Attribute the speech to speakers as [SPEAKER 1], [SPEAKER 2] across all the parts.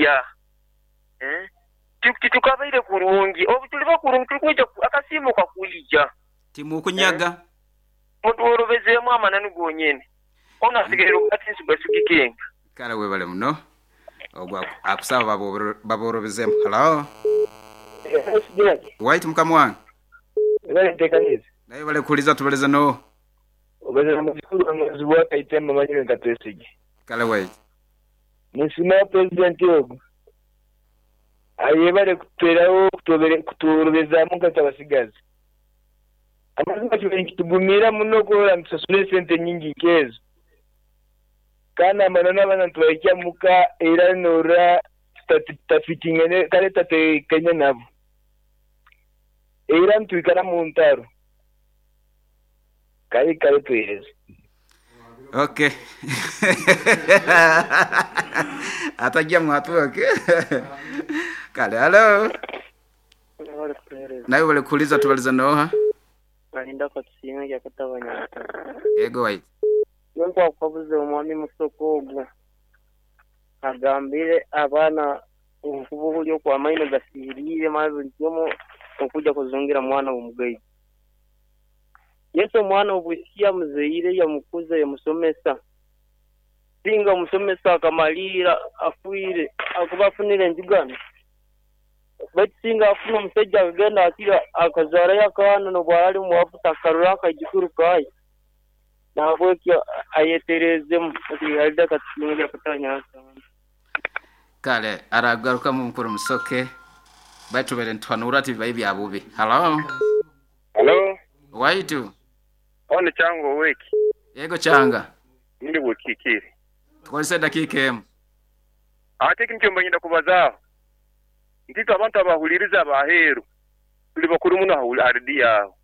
[SPEAKER 1] Kwija. Eh? Titukabaire kurungi. Obu tuliba kurungi tuli kwija akasiimo kakwija.
[SPEAKER 2] Timukunyaga.
[SPEAKER 1] Eh? Mutworobezeemu amananu gonyene. Onu asigaire rugati nsugaisugikenga.
[SPEAKER 2] Kale webale muno. Ogwo akusaba baborobezemu. Hello. White mukama wange. Naye bale kuliza tubaleza no.
[SPEAKER 3] Obazana mukuru amazi bwakaitemba manyire nkatwesige.
[SPEAKER 2] Kale White.
[SPEAKER 3] Nisima president ogu. Ayebale kutweraho kuturobezamu nk'abasigazi. Amazima kibaire nikitugumira muno kurora nitusasura esente nyingi nkezo. Kandi amananu abaana nitubahikia muka era norora tutafitingene kale tatekanye nabo. Era nitwikara mu ntaro. Kale kale tuhereze.
[SPEAKER 2] Okay. Atajia mwatu okay. Kale hello. Nawe wale kuuliza tubaliza noha.
[SPEAKER 4] Balinda katusinga kyakatabanya.
[SPEAKER 2] Ego White.
[SPEAKER 4] Nko akabuze omwami musoko ogwo. Agambire abaana obufubu buli okwamaino gasirire maze buli okuja kuzungira mwana w'omugayi. Yesu omwana obwisikia muzeire yamukuza yamusomesa. Singa musomesa akamalira afuire akuba afunire enjugano. Baitu singa afuna omusajja akagenda akira akazaarayo akaana n'obwara omuwafu takarura akajukuru kaye. Nahabwekyo ayeterezemu ati katusinga kutanya.
[SPEAKER 2] Kale aragaruka mu mukuru musoke. Baitu bere ntwanura ati bibaye bya bubi. Hello.
[SPEAKER 5] Hello.
[SPEAKER 2] Waitu.
[SPEAKER 5] Ono chango weki.
[SPEAKER 2] Yego changa.
[SPEAKER 5] Ndi bukikire.
[SPEAKER 2] Tukozesa dakika emu.
[SPEAKER 5] Ate kintu mbanyenda kubazaaho. Ndiko abantu abahuliriza abaheru. Tuli bakuru muno aridi yaho.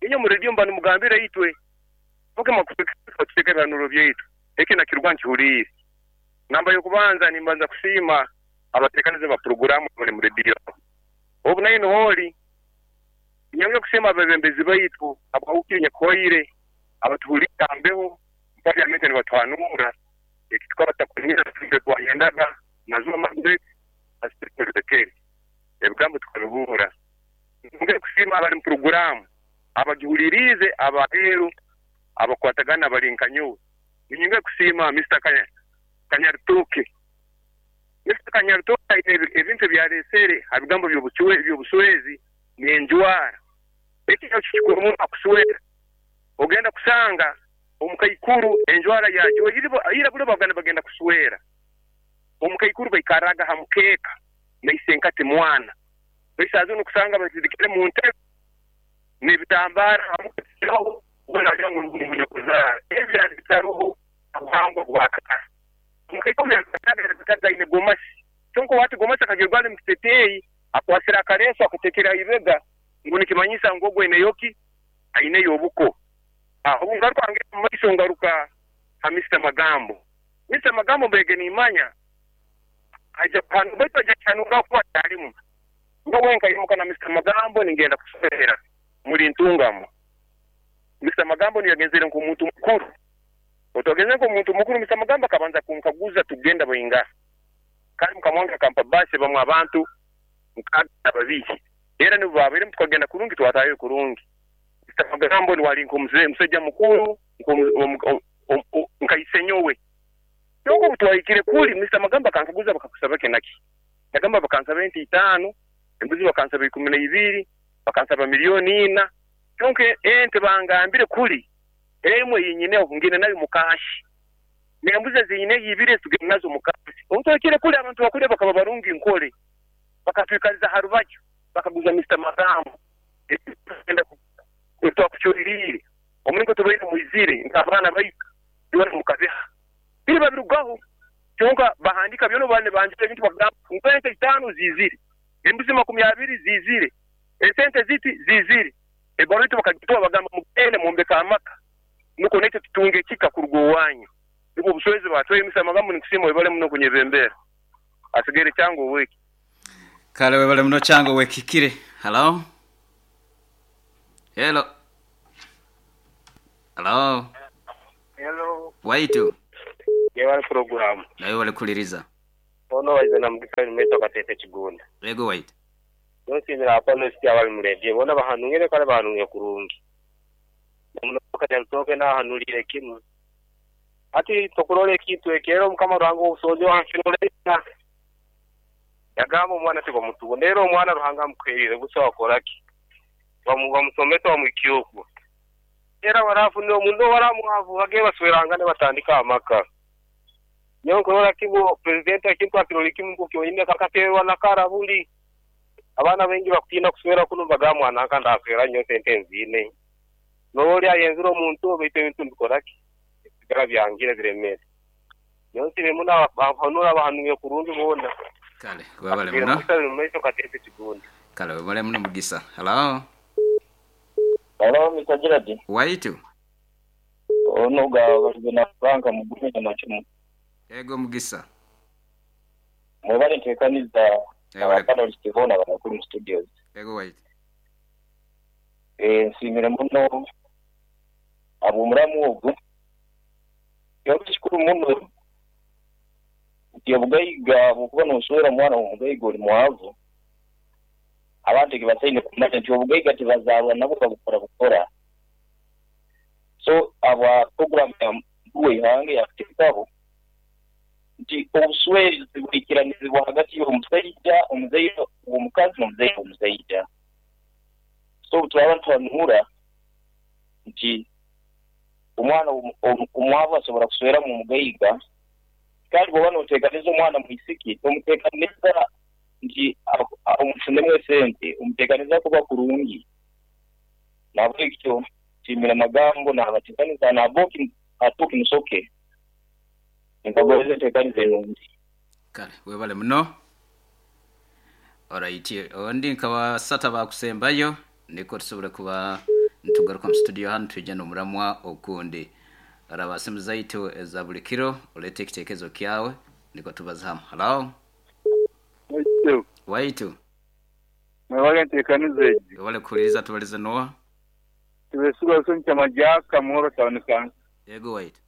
[SPEAKER 5] Inyo mu radio mbanu mugambire itwe. Poke makutekeka bihanuro byaitu. Eki nakirwa nkihulire. Namba yokubanza nimbanza kusiima abatekanize ba programu bali mu radio. Obu nayo holi. Nyonge kusema abebembezi baitu abawukire nyakoire abatuhulira mbeho parliament ni batwanura ekitwa batakunyira tujye twayendaga nazuma mazwe asitekere ebigambo tukabihura. Nyonge kusima abali mu programu abagihulirize abaheru abakwatagana balinkanyo. Nyonge kusima Mr. Kanyarituke. Mr. Kanyarituke ebintu byaresere abigambo by'obuswezi nenjwara. Ekyo kikuru akuswera. Ogenda kusanga omukaikuru enjwara yajo ira bule bagana bagenda kuswera. Omukaikuru baikaraga hamukeka naisenkate mwana. Bisazo nokusanga batidikire mu ntebe n'ebitambara hamukiraho ubona ngo ngumunyokozara. Ebya bitaruho abuhango bwakara. Omukaikuru yakataga ine gomasi. Kyonko wati gomasi akagirwa mu kiteteyi akwasira akareso akatekera ibega ngo nikimanyisa ngo gwe neyoki aine yobuko. Aho ngaruka ange maiso ngaruka ha Mr. Magambo. Mr. Magambo mbege nimanya aja pano baitu aja chanura kwa talimu. Ngo wenka imuka na Mr. Magambo ningenda kusomera muri ntungamo. Mr. Magambo ni yagenzere nko muntu mukuru. Otogenze nko muntu mukuru Mr. Magambo akabanza kunkaguza tugenda bayinga. Kandi mukamwanga kampa base bamwe abantu mukaga babiki. Era nibo babere tukagenda kurungi twatayo kurungi. Mr. Magambo ni wali nko musejja mukuru nkaisenyowe. Yongo mutwayikire kuli Mr. Magambo akankaguza bakakusaba kenaki. Nagamba bakansaba ente 5, embuzi bakansaba 12, bakansaba milioni 4. Kyonke ente bangambire kuli emwe yinyine ngine nayo mukashi. Nembuzi zinyine yibire tugenda nazo mukashi. Omutwayikire kuli abantu bakule bakaba barungi nkole. Bakatwikaliza harubajo bakaguza Mr. Magambo. Enda twakuchurire. Omulingo tubaire muizire nkabana bayika yona mukabeha. Biri babirugaho kyonka bahandika byono bane banjire ebintu bagamba ente 5 zizire. Embuzi 20 zizire. Esente ziti zizire. Ebarutu bakagitwa bagamba mugende mumbeka amaka. Nuko nete tutunge kika kurugo wanyu. Nibo buswezi batwe Mr. Magambo nikusima webale muno kunyebembera. Asigere chango weki.
[SPEAKER 2] Kale webale muno chango wekikire. Hello. Hello. Hello.
[SPEAKER 6] Hello.
[SPEAKER 2] Waitu.
[SPEAKER 6] Yewale programu.
[SPEAKER 2] Nawe wale kuliriza.
[SPEAKER 4] Ono waize na mugisa nimeto katete kigunda.
[SPEAKER 2] Ego waitu.
[SPEAKER 4] Nonsimira apanelisti abali mu rediyo bona bahanungire kale bahanungire kurungi. Namuno nahanulire kimu. Ati tokurora ekintu ekero Mukama Ruhanga obusobozi wanfirolera. Yagamba omwana tibamutugo. Rero omwana Ruhanga amukwirire busa wakoraki. Bamusometa bamukyuku. Era barafunire omundu baramuhavu bage baswerangane batandika amaka. Nyo kimu president ekintu akirori kimu kukyonyine kakaterwa na karabuli. Abaana bengi bakutina kuswera kuno bagamwa nanka ndaswera nyo sente nzine. Noli ayenzira omuntu baitu ebintu mbikoraki. Sigara byangire biremere. Nyo nsibe muna bahanura bahanuye kurungi bona.
[SPEAKER 2] Kale wabale muno. Kale wabale muno Mugisa. Hello.
[SPEAKER 3] Hello Mr. Gerard.
[SPEAKER 2] Waitu.
[SPEAKER 3] Ono ga balina banka mugume na machumu.
[SPEAKER 2] Ego Mugisa.
[SPEAKER 3] Mwebale ntekaniza abapanelisti bona banakuri mu studios.
[SPEAKER 2] Ego waitu.
[SPEAKER 3] Nsimire muno abumuramu ogwo. Kikuru muno nti obugaiga bwokuba noswera omwana omugaiga oli mwavu. Abantu kibasaine kumanya nti obugaiga tibazaalwa nabo babukora bukora. So aba program ya mkuu ihange yakuteekaho nti obuswezi buikiranizibwa hagati y'omusajja, omuzaire w'omukazi n'omuzaire w'omusajja. So twaba twanura nti omwana omwavu asobola kuswera mu mugaiga, kandi bw'oba n'oteekaniza omwana mwisiki tomuteekaniza nti omufunemu esente, omuteekaniza kuba kurungi. Nabwekyo nshimira amagambo nabateekaniza naboki atuki musoke nkagoze nteekaniza enungi.
[SPEAKER 2] Kale webale muno. Alright, ondi nkaba sata bakusembayo niko tusobole kuba ntugaruka mu studio hano tujja n'omuramwa okundi. Araba simu zaitu eza buli kiro olete ekitekezo kyawe niko tubaza hamu. Hello. Waitu.
[SPEAKER 6] Mwebale nteekaniza egi.
[SPEAKER 2] Webale kuhuliriza tubalize noa.
[SPEAKER 6] Tubesigwa soncha majaka muhoro taonekana.
[SPEAKER 2] Yego waitu.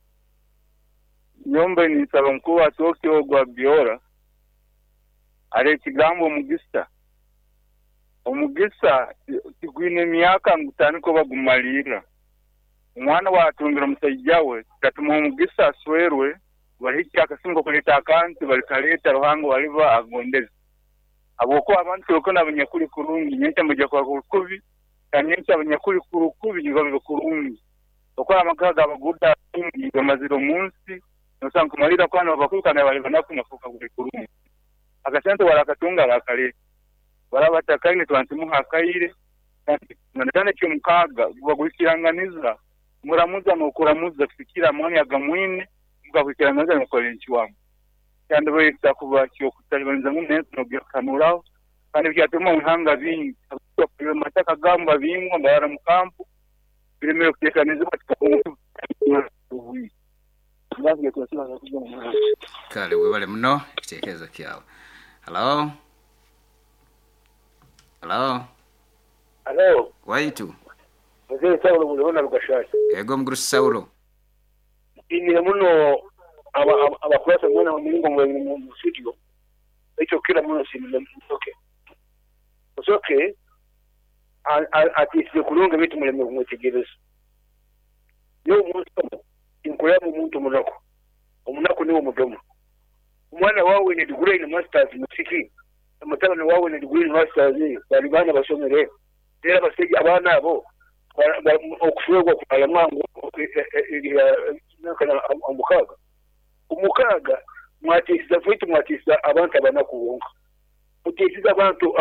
[SPEAKER 6] Nyombe nisaba mkuu atoke ogwa biora. Ale ekigambo omugisa. Omugisa tigwine emyaka ngutaniko bagumalira. Omwana watungira omusajja we katuma omugisa aswerwe balihikya akasingo kuleta akantu balikaleta Ruhanga waliba agondeze. Aboko abantu bakona abanyakuli kurungi nyencha mujja kwa kubi kanyencha abanyakuli kurukubi ngibabe kurungi. Okora amakaga abaguda bamazira omunsi nosanga kumalira kwana bakukana bali banakunafuka kuli kurungi. Akasente walakatunga bakale barabatakaine twantimuha akaire nandana cyo mukaga bagwikiranganiza muramuza nokuramuza kufikira amani agamwine mugakwikiranganiza nokolenchi wamu. Kandi bayita kuba cyo kutalibaniza mu nento nogyakanuraho kandi byatuma muhanga bingi mataka gamba bingwa barara mukampu biremere kutekanizwa
[SPEAKER 2] Kale webale muno ekitekezo kyawe. Hello. Hello.
[SPEAKER 7] Hello.
[SPEAKER 2] Waitu.
[SPEAKER 7] Mzee Saulo muliona Rugashasha.
[SPEAKER 2] Ego mguru Saulo.
[SPEAKER 7] Imire muno abakurasa mwana wa mulingo mu studio. Ekyo kila muno simile musoke. Musoke atisize kulonga bitu muleme kumwetegereza. Yo omuntu inkulaba omuntu omunaku. Omunaku niwo mudomo. Omwana wawe ne degree in masters musiki. Mutabani wawe ne degree in masters bali bana basomere. Era basajja abaana abo okufuegwa kualamwangu omukaga. Omukaga mwatisiza faitu mwatisiza abantu abanaku bonka. Mutisiza abantu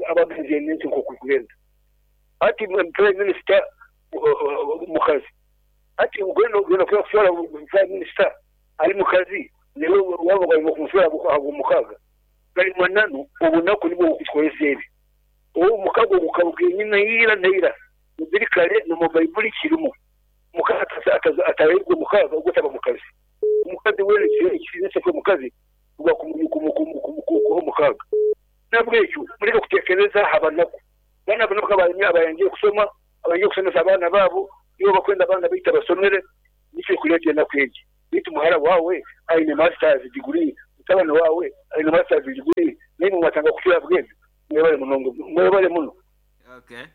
[SPEAKER 7] abagenzi ensi nk'okugenda. Ati prime minister mukazi. Ati ugenda kushora prime minister ali mukazi niwe waba bali kumushora abo mukaga. Bali mananu obunaku nibwo okukolesa ebi. Owo mukago gukabuke nyina ira mubiri kale no mu Baibuli kirimo. Mukazi ataregwe mukaga ugutaba mukazi. Omukazi wele kizinse ko mukazi ugwa kumukuho mukaga. Nabwekyo mureke kutekereza abanaku. Bana banoka abayangiye kusoma, abayangiye kusomesa abana babo, nibo bakwenda abana bita basomere nicyo kuleta na kweji. Bitu muhara wawe aine masters degree Mutabani waawe aine masters degree naimwe mwatandika kucura bwezi. Mwebale munonga, mwebale muno.
[SPEAKER 2] Okay,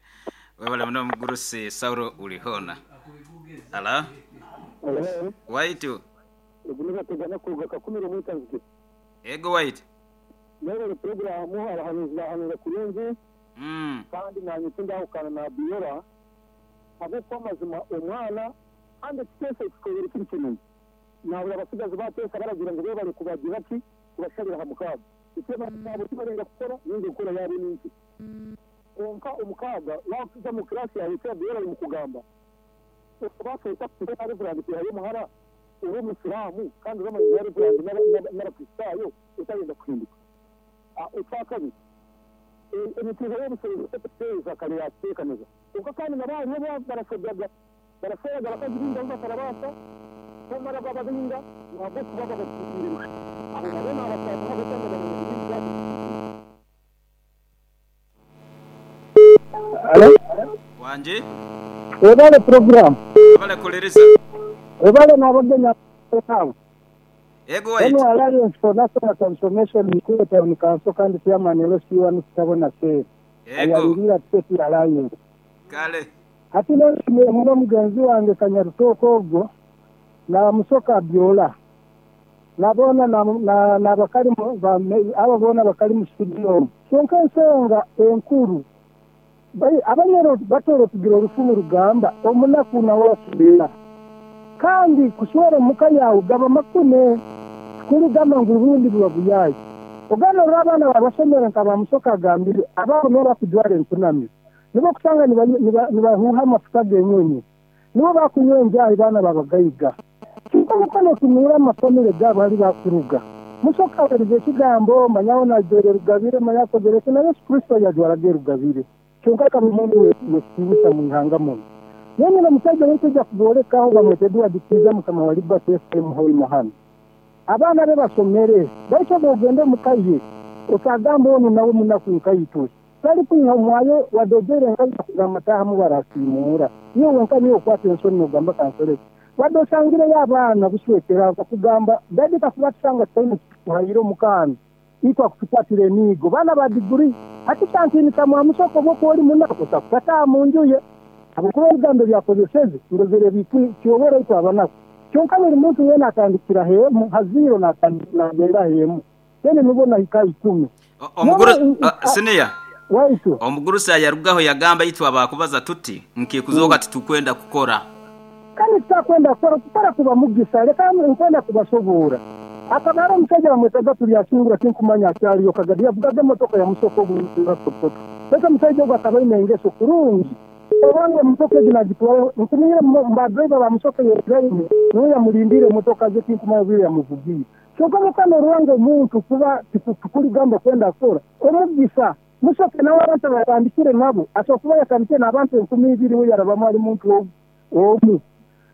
[SPEAKER 2] webale muno omugurusi Saulo Ulihona. Ala waitu.
[SPEAKER 8] Ogu nibategana kuruga Kakumiro Mwitanzige.
[SPEAKER 2] Ego waitu.
[SPEAKER 8] Mwebale puroguraamu, abahanuzi bahanura kurungi. Kandi nanye tindahukana na Abiola ahabw'okuba amazima omwana kandi ekiteeso ekikobere kiri kirungi. Nabura abasigazi bateesa baragira ngu bebare kubagira ki kubashabira aha mukaaga. Itwe nabo tibarenga kukora ninga enkora yaabo ni nkye. Kwonka omukaaga wakuza omu class yawe eki Abiola ari mukugamba okabaasa ota kuteera Reverand kwihayo omuhara ori omusiraamu kandi oramanya ngu Reverand n'abakristaayo otarenda kuhinduka. Ekyakabiri, enyikiriza y'obushwere ekuteeza kare yakuteekaniza. Kwonka kandi nabo hariho barashobyaga, barashweraga abakazi baingi abu batarabaasa kumara bababinga ahabw'okuba babatukiire busha. Abo nabo naabasaasira ahabw'okuba nibamanya ngu bingi byabatukiire.
[SPEAKER 9] Halo.
[SPEAKER 2] Wangi.
[SPEAKER 9] Webale program.
[SPEAKER 2] Webale kuliriza.
[SPEAKER 9] Webale n'abagenyi abo.
[SPEAKER 2] Ego waitu.
[SPEAKER 9] Enu Alliance for National Transformation Mikuyu Town Council kandi Chairman LC1 Kitabona Cell
[SPEAKER 2] Ego.
[SPEAKER 9] ayalirira State Alliance.
[SPEAKER 2] Kale.
[SPEAKER 9] Hati nensimire muno mugenzi wange Kanyarutooko ogwo na Musoke Abiola na boona na bakali abo boona bakali mu studio omu. Kyonka ensonga enkuru Abanyoro batoro tugira orufumu rugamba omunaku nawe aswera kandi kuswera omuka yawe gaba makune tikurigamba ngu rundi buba buyayi ogana orora abaana bawe basomere nka bamusoke agambire abaabo nibo bakujwara enkunamyo nibo okusanga nibahuuha amafuta g'enyonyi nibo bakunywa enjaahi baana babagaiga kyonka omukono otunuura amafamire gaabo hali bakuruga Musoke awerize ekigambo manyaho najwere rugabire manya akozere ki na Yesu Kristo yajwaraga erugabire kyonka akaba omuntu w'ekitiinisa mu ihanga muno. Yenyine omusaija ow'okwija kuboolekaho bamweta Edward Kiiza mukama wa Liberty FM Hoima hanu. Abaana be basomere, baitu obu ogenda omu ka ye otagamba onu nawe munaku nkaitwe. Tali kwiha omwayo wadde ojaire nkaija kugamba taahamu barasiimuura. Iwe wenka niiwe okwata ensoni nogamba kankole ki. Wadde osangireyo abaana buswekera bakugamba dadi kakuba tusanga tutaine ekitukuhaire omu kaana itwe akutukwatira emiigo. Baana ba diguri hati kyantiinisa mwamusoke obu okuba ori munaku otakutaaha mu nju ye habwokuba ebigambo ebi akozeseze ndozere kyobora itwe abanaku. Kyonka buli muntu weena atandikira hemu ha ziro nagenda hemu then nubwo nahika 10.
[SPEAKER 2] Siniya
[SPEAKER 9] Waitu.
[SPEAKER 2] Omugurusi ayarugaho yagamba itwe abakubaza tuti nkikuzoka titukwenda kukora.
[SPEAKER 9] Kandi tutakwenda kukora, kukora kuba mugisa leka nkwenda kubasoboora. Akaba hariho omusaija bamwetaga Turyasingura tinkumanya akyaliyo Kagadi yavugaga emotoka ya Musoke ogu poto. Baitu omusaija ogu akaba aine engeso kurungi. Obwange emotoka egi nagitwara nkumanyire ba driver ba Musoke yetiraine niwe yamulindiire emotoka ze tinkumanya obwire yamuvugiire. Kyonka mukama oruhanga omuntu kuba tikuligamba kwenda kukora omugisa Musoke nawe abantu abatandikire nabo asobola kuba yatandikire n'abantu 2000 we yarabamu ali muntu omu.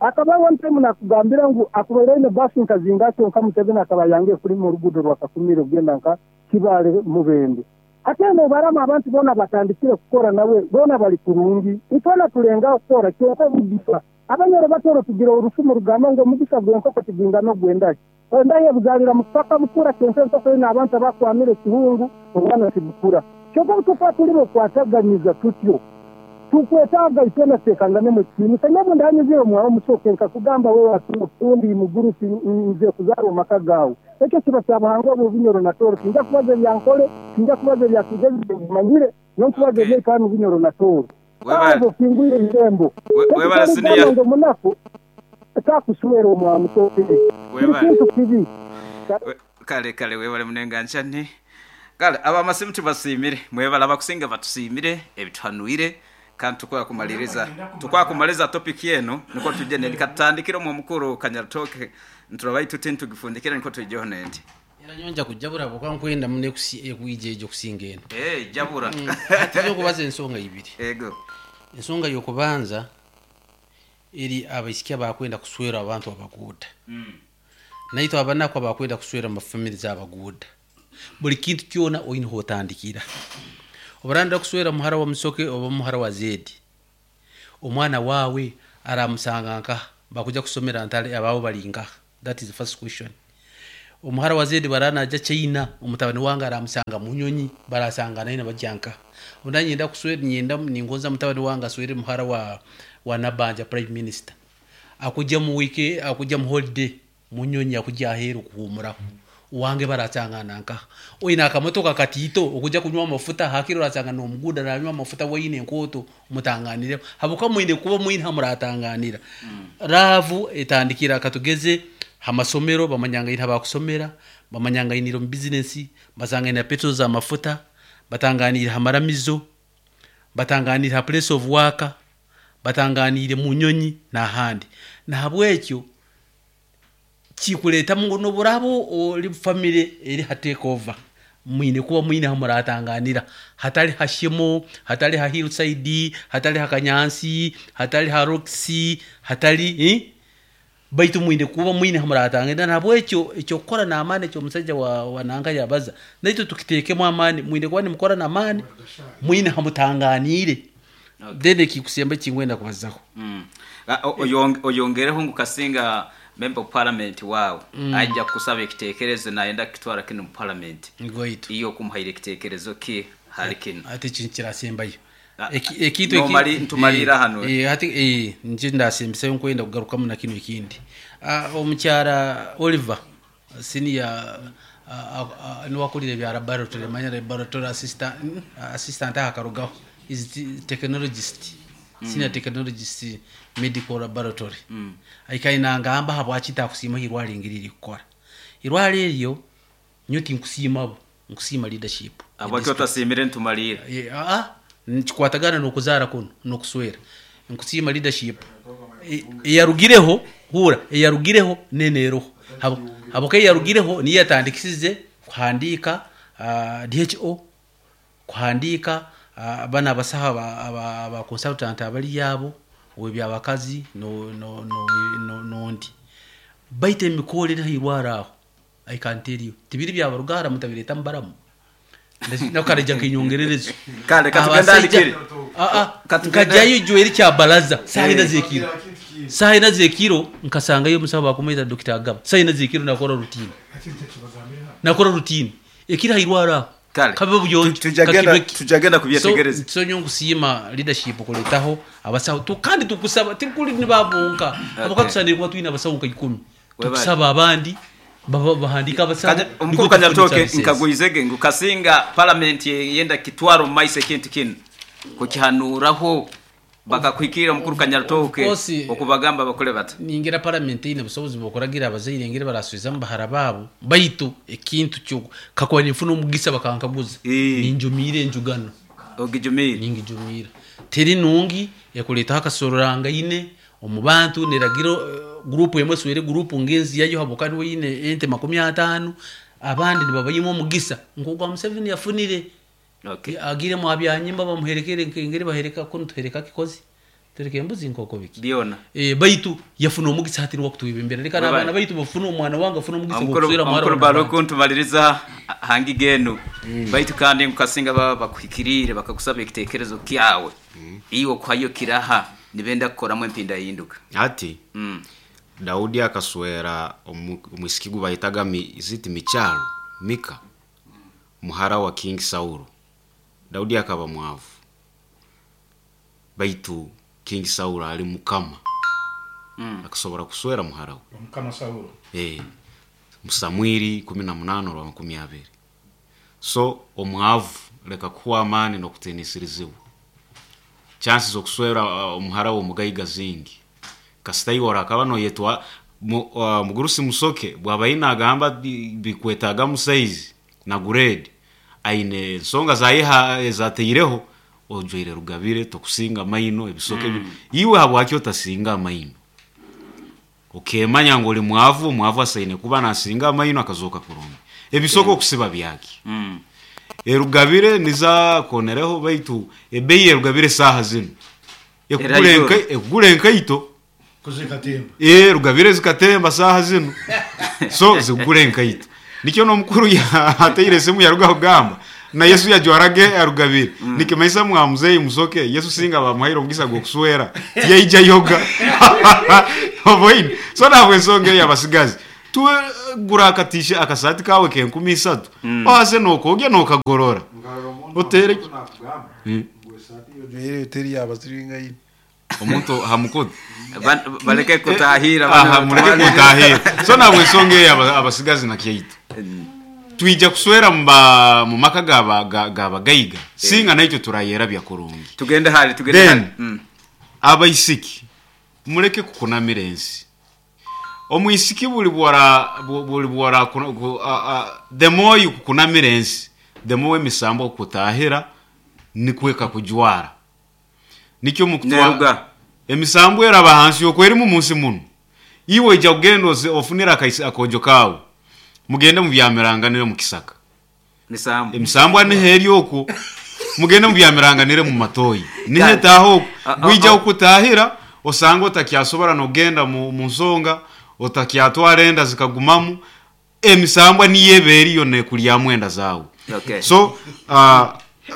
[SPEAKER 9] Akaba one time nakugambira ngu akubaire aine basi nkazinga kyonka Museveni akaba yange kulima oruguudo rwa Kakumiro kugenda nka Kibaale Mubende. Ate nobarama abantu boona batandikire kukora nawe boona bali kurungi. Itwena tulengaho kukora kyonka omugisa. Abanyoro batoro tugira orufumu rugamba ngu omugisa gw'enkoko tigwingana ogw'endaki. Endahi ebuzaalira mu kupaka bukura kyonka enkoko eine abantu abakwamire ekihungu obwana tibukura. Kyonka obu tukuba turi okwataganiza tutyo tukwetaaga itwena tuteekanganemu ekitiinisa. Nyowe ndanyizire omwawe Musoke nkakugamba wewe ondi mugurusi nze kuzaara omu maka gaawe. Ekyo kiba kyabuhangwa obu Bunyoro na Tooro. Tinja kubaza ebyankole, tinja kubaza ebya Kigezi bimanyire, nonkubaza ebyaitu hanu Bunyoro na Tooro. Abo kingwire irembo.
[SPEAKER 2] Webale siniya.
[SPEAKER 9] Ngu omunaku takuswera omwa Musoke. Kiri kintu kibi.
[SPEAKER 2] Kale kale webale munenga nchani. Kale abamasimu tubasiimire mwebale abakusinga batusiimire ebituhanuire kandi tukwakumaliza topic eno niko tujje nendi katutandikire omwo omukuru Kanyarutoke nturaba tuti ntugifundikire niko tujjeho nendi.
[SPEAKER 10] Era nyonja kujabura bwokuba nkwenda muno ekwija ejo kusinga eno.
[SPEAKER 2] Jabura.
[SPEAKER 10] Hati okubaza ensonga ibiri.
[SPEAKER 2] Ego.
[SPEAKER 10] Ensonga y'okubanza eri abaisiki abakwenda kuswera abantu abaguuda. Naitwe abanaku abakwenda kuswera mu family z'abaguuda. Buli kintu kyona oine hotandikira. Obaranda kuswera muhara wa Musoke oba muhara wa Zedi. Omwana wawe aramusanga nka bakuja kusomera ntale abawo bali nka. That is the first question. Omuhara wa Zedi bara naija China, omutabani wange aramusanga mu nyonyi, barasangana aine bajya nkaha. Obu nanyenda kuswera ninyenda ningonza mutabani wange aswere muhara wa Nabanja prime minister. Akujya mu week akujya mu holiday mu nyonyi akujya aheeru kuhumuraho. Owange barasangana nkaha. Oine akamotoka katiito okujya kunywa amafuta hakiri orasanga n'omuguuda aranywa amafuta waine enkooto mutanganireho. Habwokuba mwine kuba mwine hamuratanganira. Love etandikira katugeze ha masomero bamanyangaine habakusomera, bamanyangainire omu business, basangaine ha petrol z'amafuta, batanganiire ha maramizo, batanganiire ha place of work, batanganiire mu nyonyi n'ahandi. Nahabwekyo kikureetamu ngu n'obu oraaba ori family eri ha take over, mwine kuba mwine hamuratanganira hatali ha Shimo, hatali ha Hillside, hatali ha Kanyansi, hatali ha Roxy, hatali baitu mwine kuba mwine hamuratanganira. Nahabwekyo eky'okukora n'amaani eky'omusajja wa nanka yabaza, naitwe tukiteekemu amaani, mwine kuba nimukora n'amaani, mwine hamutanganiire. Then ekikusemba ekinkwenda kubazaho.
[SPEAKER 2] Oyongereho ngu kasinga member of parliament waawe aija kukusaba ekiteekerezo nayenda kukitwara kinu mu parliament.
[SPEAKER 10] Gwaitu.
[SPEAKER 2] Iwe okumuhaire ekiteekerezo ki hali kinu?
[SPEAKER 10] Hati eki nikirasembayo. Ekintu
[SPEAKER 2] Ntumaliira hanu.
[SPEAKER 10] Hati nikyo ndasembisayo nkwenda kugarukamu na kinu ekindi. Omukyara Oliver senior niwe akurire ebya laboratory, manya laboratory assistant aha akarugaho is technologist, senior technologist medical laboratory. Aikaire nangamba habwaki ntakusiima irwaro engeri erikukora. Irwaro eryo nyowe tinkusiima bo, nkusiima leadership.
[SPEAKER 2] Habwaki otasiimire ntumaliira?
[SPEAKER 10] Nikikwatagana n'okuzaara kunu n'okuswera. Nkusiima leadership eyarugireho, huura eyarugireho nene eroho. Habwokuba eyarugireho niyo yatandikisize kuhandiika DHO, kuhandiika banu abasaho aba consultant abali abo ow'ebyabakazi n'ondi. Baitu emikorre eri hairwaro aho, I can tell you, tibiri byabaruga hara mutabireeta mubaramu. Nakaraija nk'enyongererezo.
[SPEAKER 2] Kale katugende
[SPEAKER 10] Abasaija
[SPEAKER 2] alikiri.
[SPEAKER 10] Nkajyayo ijweri kya baraza saaha ina z'ekiro. Saaha ina z'ekiro nkasangayo omusaho bakumweta Dr. Agaba. Saaha ina z'ekiro nakora routine. Nakora routine. Ekiri hairwaro aho.
[SPEAKER 2] Kale.
[SPEAKER 10] Kabe buyonjo, kakibeki.
[SPEAKER 2] Tujagenda kubyetegereza.
[SPEAKER 10] So nyowe nkusiima leadership kureetaho abasaho. Kandi tukusaba tikuri nibabonka. Habwokuba tusanire kuba twine abasaho nka 10. Tukusaba abandi bahandika abasaho.
[SPEAKER 2] Kati omukuru Kanyarutooke nkagwizege ngu kasinga parliament yenda kitwara omu maiso ekintu kinu kukihanuraho bakakuhikirira omukuru Kanyarutooke
[SPEAKER 10] Of course,
[SPEAKER 2] okubagamba bakole bata.
[SPEAKER 10] Ningira parliament eine obusobozi bw'okuragira abazaire engeri baraswizamu bahara baabo, baitu ekintu kyo kakuba ninfuna omugisa bakankaguza, ninjumiira enjugano.
[SPEAKER 2] Ogijumiire?
[SPEAKER 10] Ningijumiira. Teri nungi ekureetaho akasororangaine omu bantu, neragira gurupu emwe eswere gurupu ngenzi yayo habwokuba niwe eine ente 50, abandi nibabayimu omugisa nk'ogwa Museveni yafunire. Agire mwa byanyimba bamuherekere nk'engeri bahereka kunu tuhereka kikozi. Tereka embuzi nkoko biki.
[SPEAKER 2] Byona.
[SPEAKER 10] Baitu yafuna omugisa hati niwe akutwebembera. Reka
[SPEAKER 2] Bye-bye.
[SPEAKER 10] n'abaana baitu bafune omwana wange afune omugisa gw'okuswera muhara
[SPEAKER 2] Omukuru
[SPEAKER 10] wa Nabanja.
[SPEAKER 2] Baruku ntumaliriza hangi genu. Baitu kandi nkasinga baba bakuhikiriire bakakusaba ekiteekerezo kyawe. Iwe okuhayo kiraha nibenda kukoramu empinda yinduka.
[SPEAKER 11] Ati Daudi akaswera omwisiki gu bayetaga ziti Michalo, Mika, muhara wa King Saulo. Daudi akaba mwavu. Baitu King Saulo ali mukama. Akasobora kuswera muhara we.
[SPEAKER 12] Mukama Saulo.
[SPEAKER 11] Samwiri 18 rwa 20. So omwavu leka kuwa amani n'okutiinisirizibwa. Chances z'okuswera omuhara w'omugaiga zingi. Kasita iwe orakaba noyetwa mugurusi musoke bwaba aine agamba bikwetaaga mu size na grade aine ensonga zayiha ezateireho ojwaire rugabire tokusinga amaino ebisoke iwe habwaki otasinga amaino? Okemanya ngu oli mwavu, omwavu asaine kuba nasinga amaino akazooka kurungi. Ebisoke okusiba byaki? Erugabire niza konereho baitu ebeeyi erugabire saaha zinu ekugura enkaito.
[SPEAKER 12] Kuzikatemba.
[SPEAKER 11] Rugabire zikatemba saaha zinu. So zikugura enkaito. Nikyo n'omukuru ateire esimu yaruga kugamba na Yesu yajwarage arugabire. Nikimaisa mwa muzeyi musoke Yesu singa bamuhaire omugisa gw'okuswera tiyaija yoga. Oboine. So nabwo ensonga eyo abasigazi. Tuwe gura akatishe akasaati kawe k'enkumi isatu ohaze nookogya nookagorora oteere
[SPEAKER 12] Ojwaire teri yabasiringaine.
[SPEAKER 11] Omuntu ha mukutu.
[SPEAKER 2] Baleke kutahira.
[SPEAKER 11] Aha, muleke kutahira. So nabwo ensonga eyo abasigazi na kyaitu. Twija kuswera mu maka g'abagaiga singa naitwe turayerabya kurungi.
[SPEAKER 2] Tugende hali, tugende
[SPEAKER 11] Then
[SPEAKER 2] hali.
[SPEAKER 11] Abaisiki muleke kukunamira ensi. Omwisiki buli bwora buli bwora the more you kukunamira ensi, the more emisambo kutahira nikweka kujwara. Nikyo mukutwa
[SPEAKER 2] Neruga.
[SPEAKER 11] Emisambo eraba hansi yokwerimu munsi muno. Iwe ija kugenda ofunira akojo kawe. Mugende mu byamiranganire mu kisaka.
[SPEAKER 2] Misambo.
[SPEAKER 11] Emisambo ni heri oku. Mugende mu byamiranganire mu matoyi. Ni hetaho oku. Gwija okutahira osanga otakyasobora nogenda mu nsonga, otakyatwara enda zikagumamu. Emisambwa ni yeberi yo nekulya mwenda zawe. So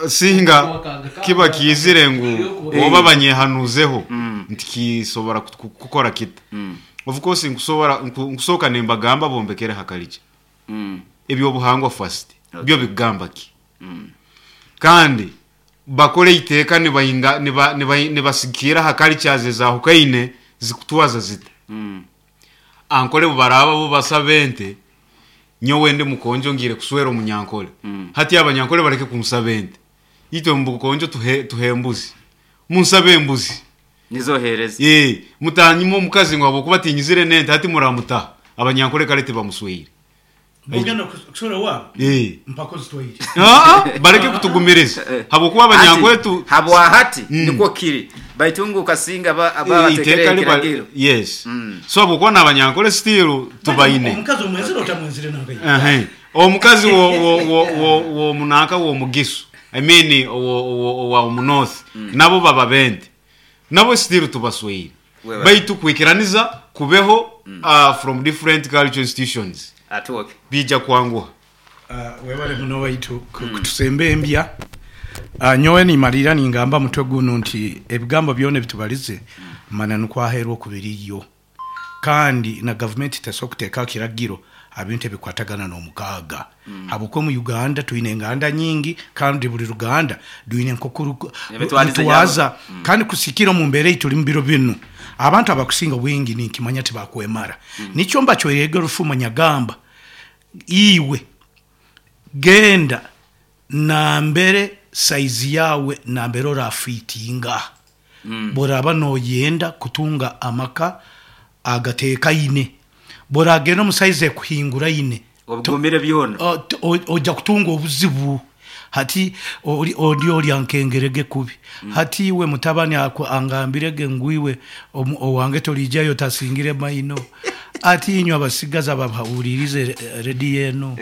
[SPEAKER 11] singa kiba kizire ngu oba banyehanuzeho nti kisobora kukora kita. Of course nkusobora nkusoka nembagamba bombekere hakalije. Ebyo buhangwa first. Byo bigamba ki? Kandi bakole iteka nibayinga nibasikira hakalichaze za hukaine zikutwaza zita. Ankole bubaraba bo basabente nyowe ndi mukonjo ngire kuswera omunyankole. Hati abanyankole bareke kumusabente. Itwe mukonjo tuhembuzi. Munsabe embuzi.
[SPEAKER 2] Nizohereza.
[SPEAKER 11] Mutanyimo omukazi ngo abokuba tinyizire nente hati muramuta. Abanyankole kalete bamuswere.
[SPEAKER 12] Bugenda kuswera wabo? Mpako zitwaire.
[SPEAKER 11] Bareke kutugumireza. Habokuba abanyankole tu
[SPEAKER 2] habwa hati niko kiri. Baitungu kasinga abatekere kiragiro.
[SPEAKER 11] Yes. So abokuba n'abanyankole still tubaine.
[SPEAKER 12] Omukazi omwenzire otamwenzire nangaye.
[SPEAKER 11] Omukazi wo munaka wo mugisu. I mean wo munorth. Nabo baba bente. Nabo still tubaswere. Baitu kwikiraniza kubeho from different cultural institutions.
[SPEAKER 2] Atuoke.
[SPEAKER 11] Bija kwanguha.
[SPEAKER 12] Webale muno waitu kutusembe embya. Nyowe nimalira ningamba mutwe guno nti ebigambo byone bitubalize mana nukwaherwa kubiriyo. Kandi na government tesokuteeka kiragiro abintu ebikwatagana n'omukaaga. Habwokuba mu Uganda twine enganda nyingi kandi buli ruganda duine nkokuru twaza kandi kusikira mu mbere tuli mu biro binu. Abantu abakusinga bwingi ninkimanya tibakwemara. Nikyo mbacwerege rufuma nyagamba iwe genda nambere saizi yawe nambere orafitinga. Boraba noyenda kutunga amaka agatekaine. Boragenda mu saizi ekuhingura ine.
[SPEAKER 2] Obugumire byona.
[SPEAKER 12] Ojja kutunga obuzibu. Hati ori ori ankengerege kubi. Hati iwe mutabani angambirege ngwiwe owange tolijayo tasingire maino. Ati inywe abasigaza babahuririze redi eno.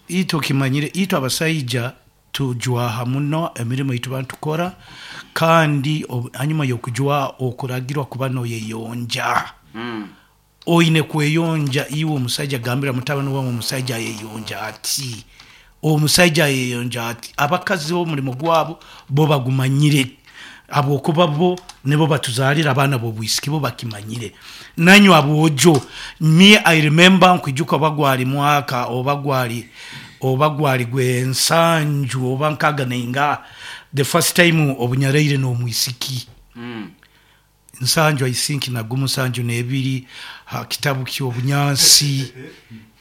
[SPEAKER 12] Ito kimanyire ito abasaija tujwaha muno emirimo itu bantukora kandi hanyuma yokujwa okuragirwa kuba noyeyonja. Oine kweyonja iwe omusajja gambira mutabani wawe omusajja yeyonja ati omusajja yeyonja ati abakazi bo mulimo gwabo bo bagumanyire abokuba bo nibo batuzalira abaana bo bwisiki bo bakimanyire nanyu abojo me I remember nkwijuka bagwali mwaka obagwali gwensanju oba nkaga nenga the first time obunyaraire no mwisiki. Nsanju I think na gumu nsanju nebiri kitabu ky'obunyansi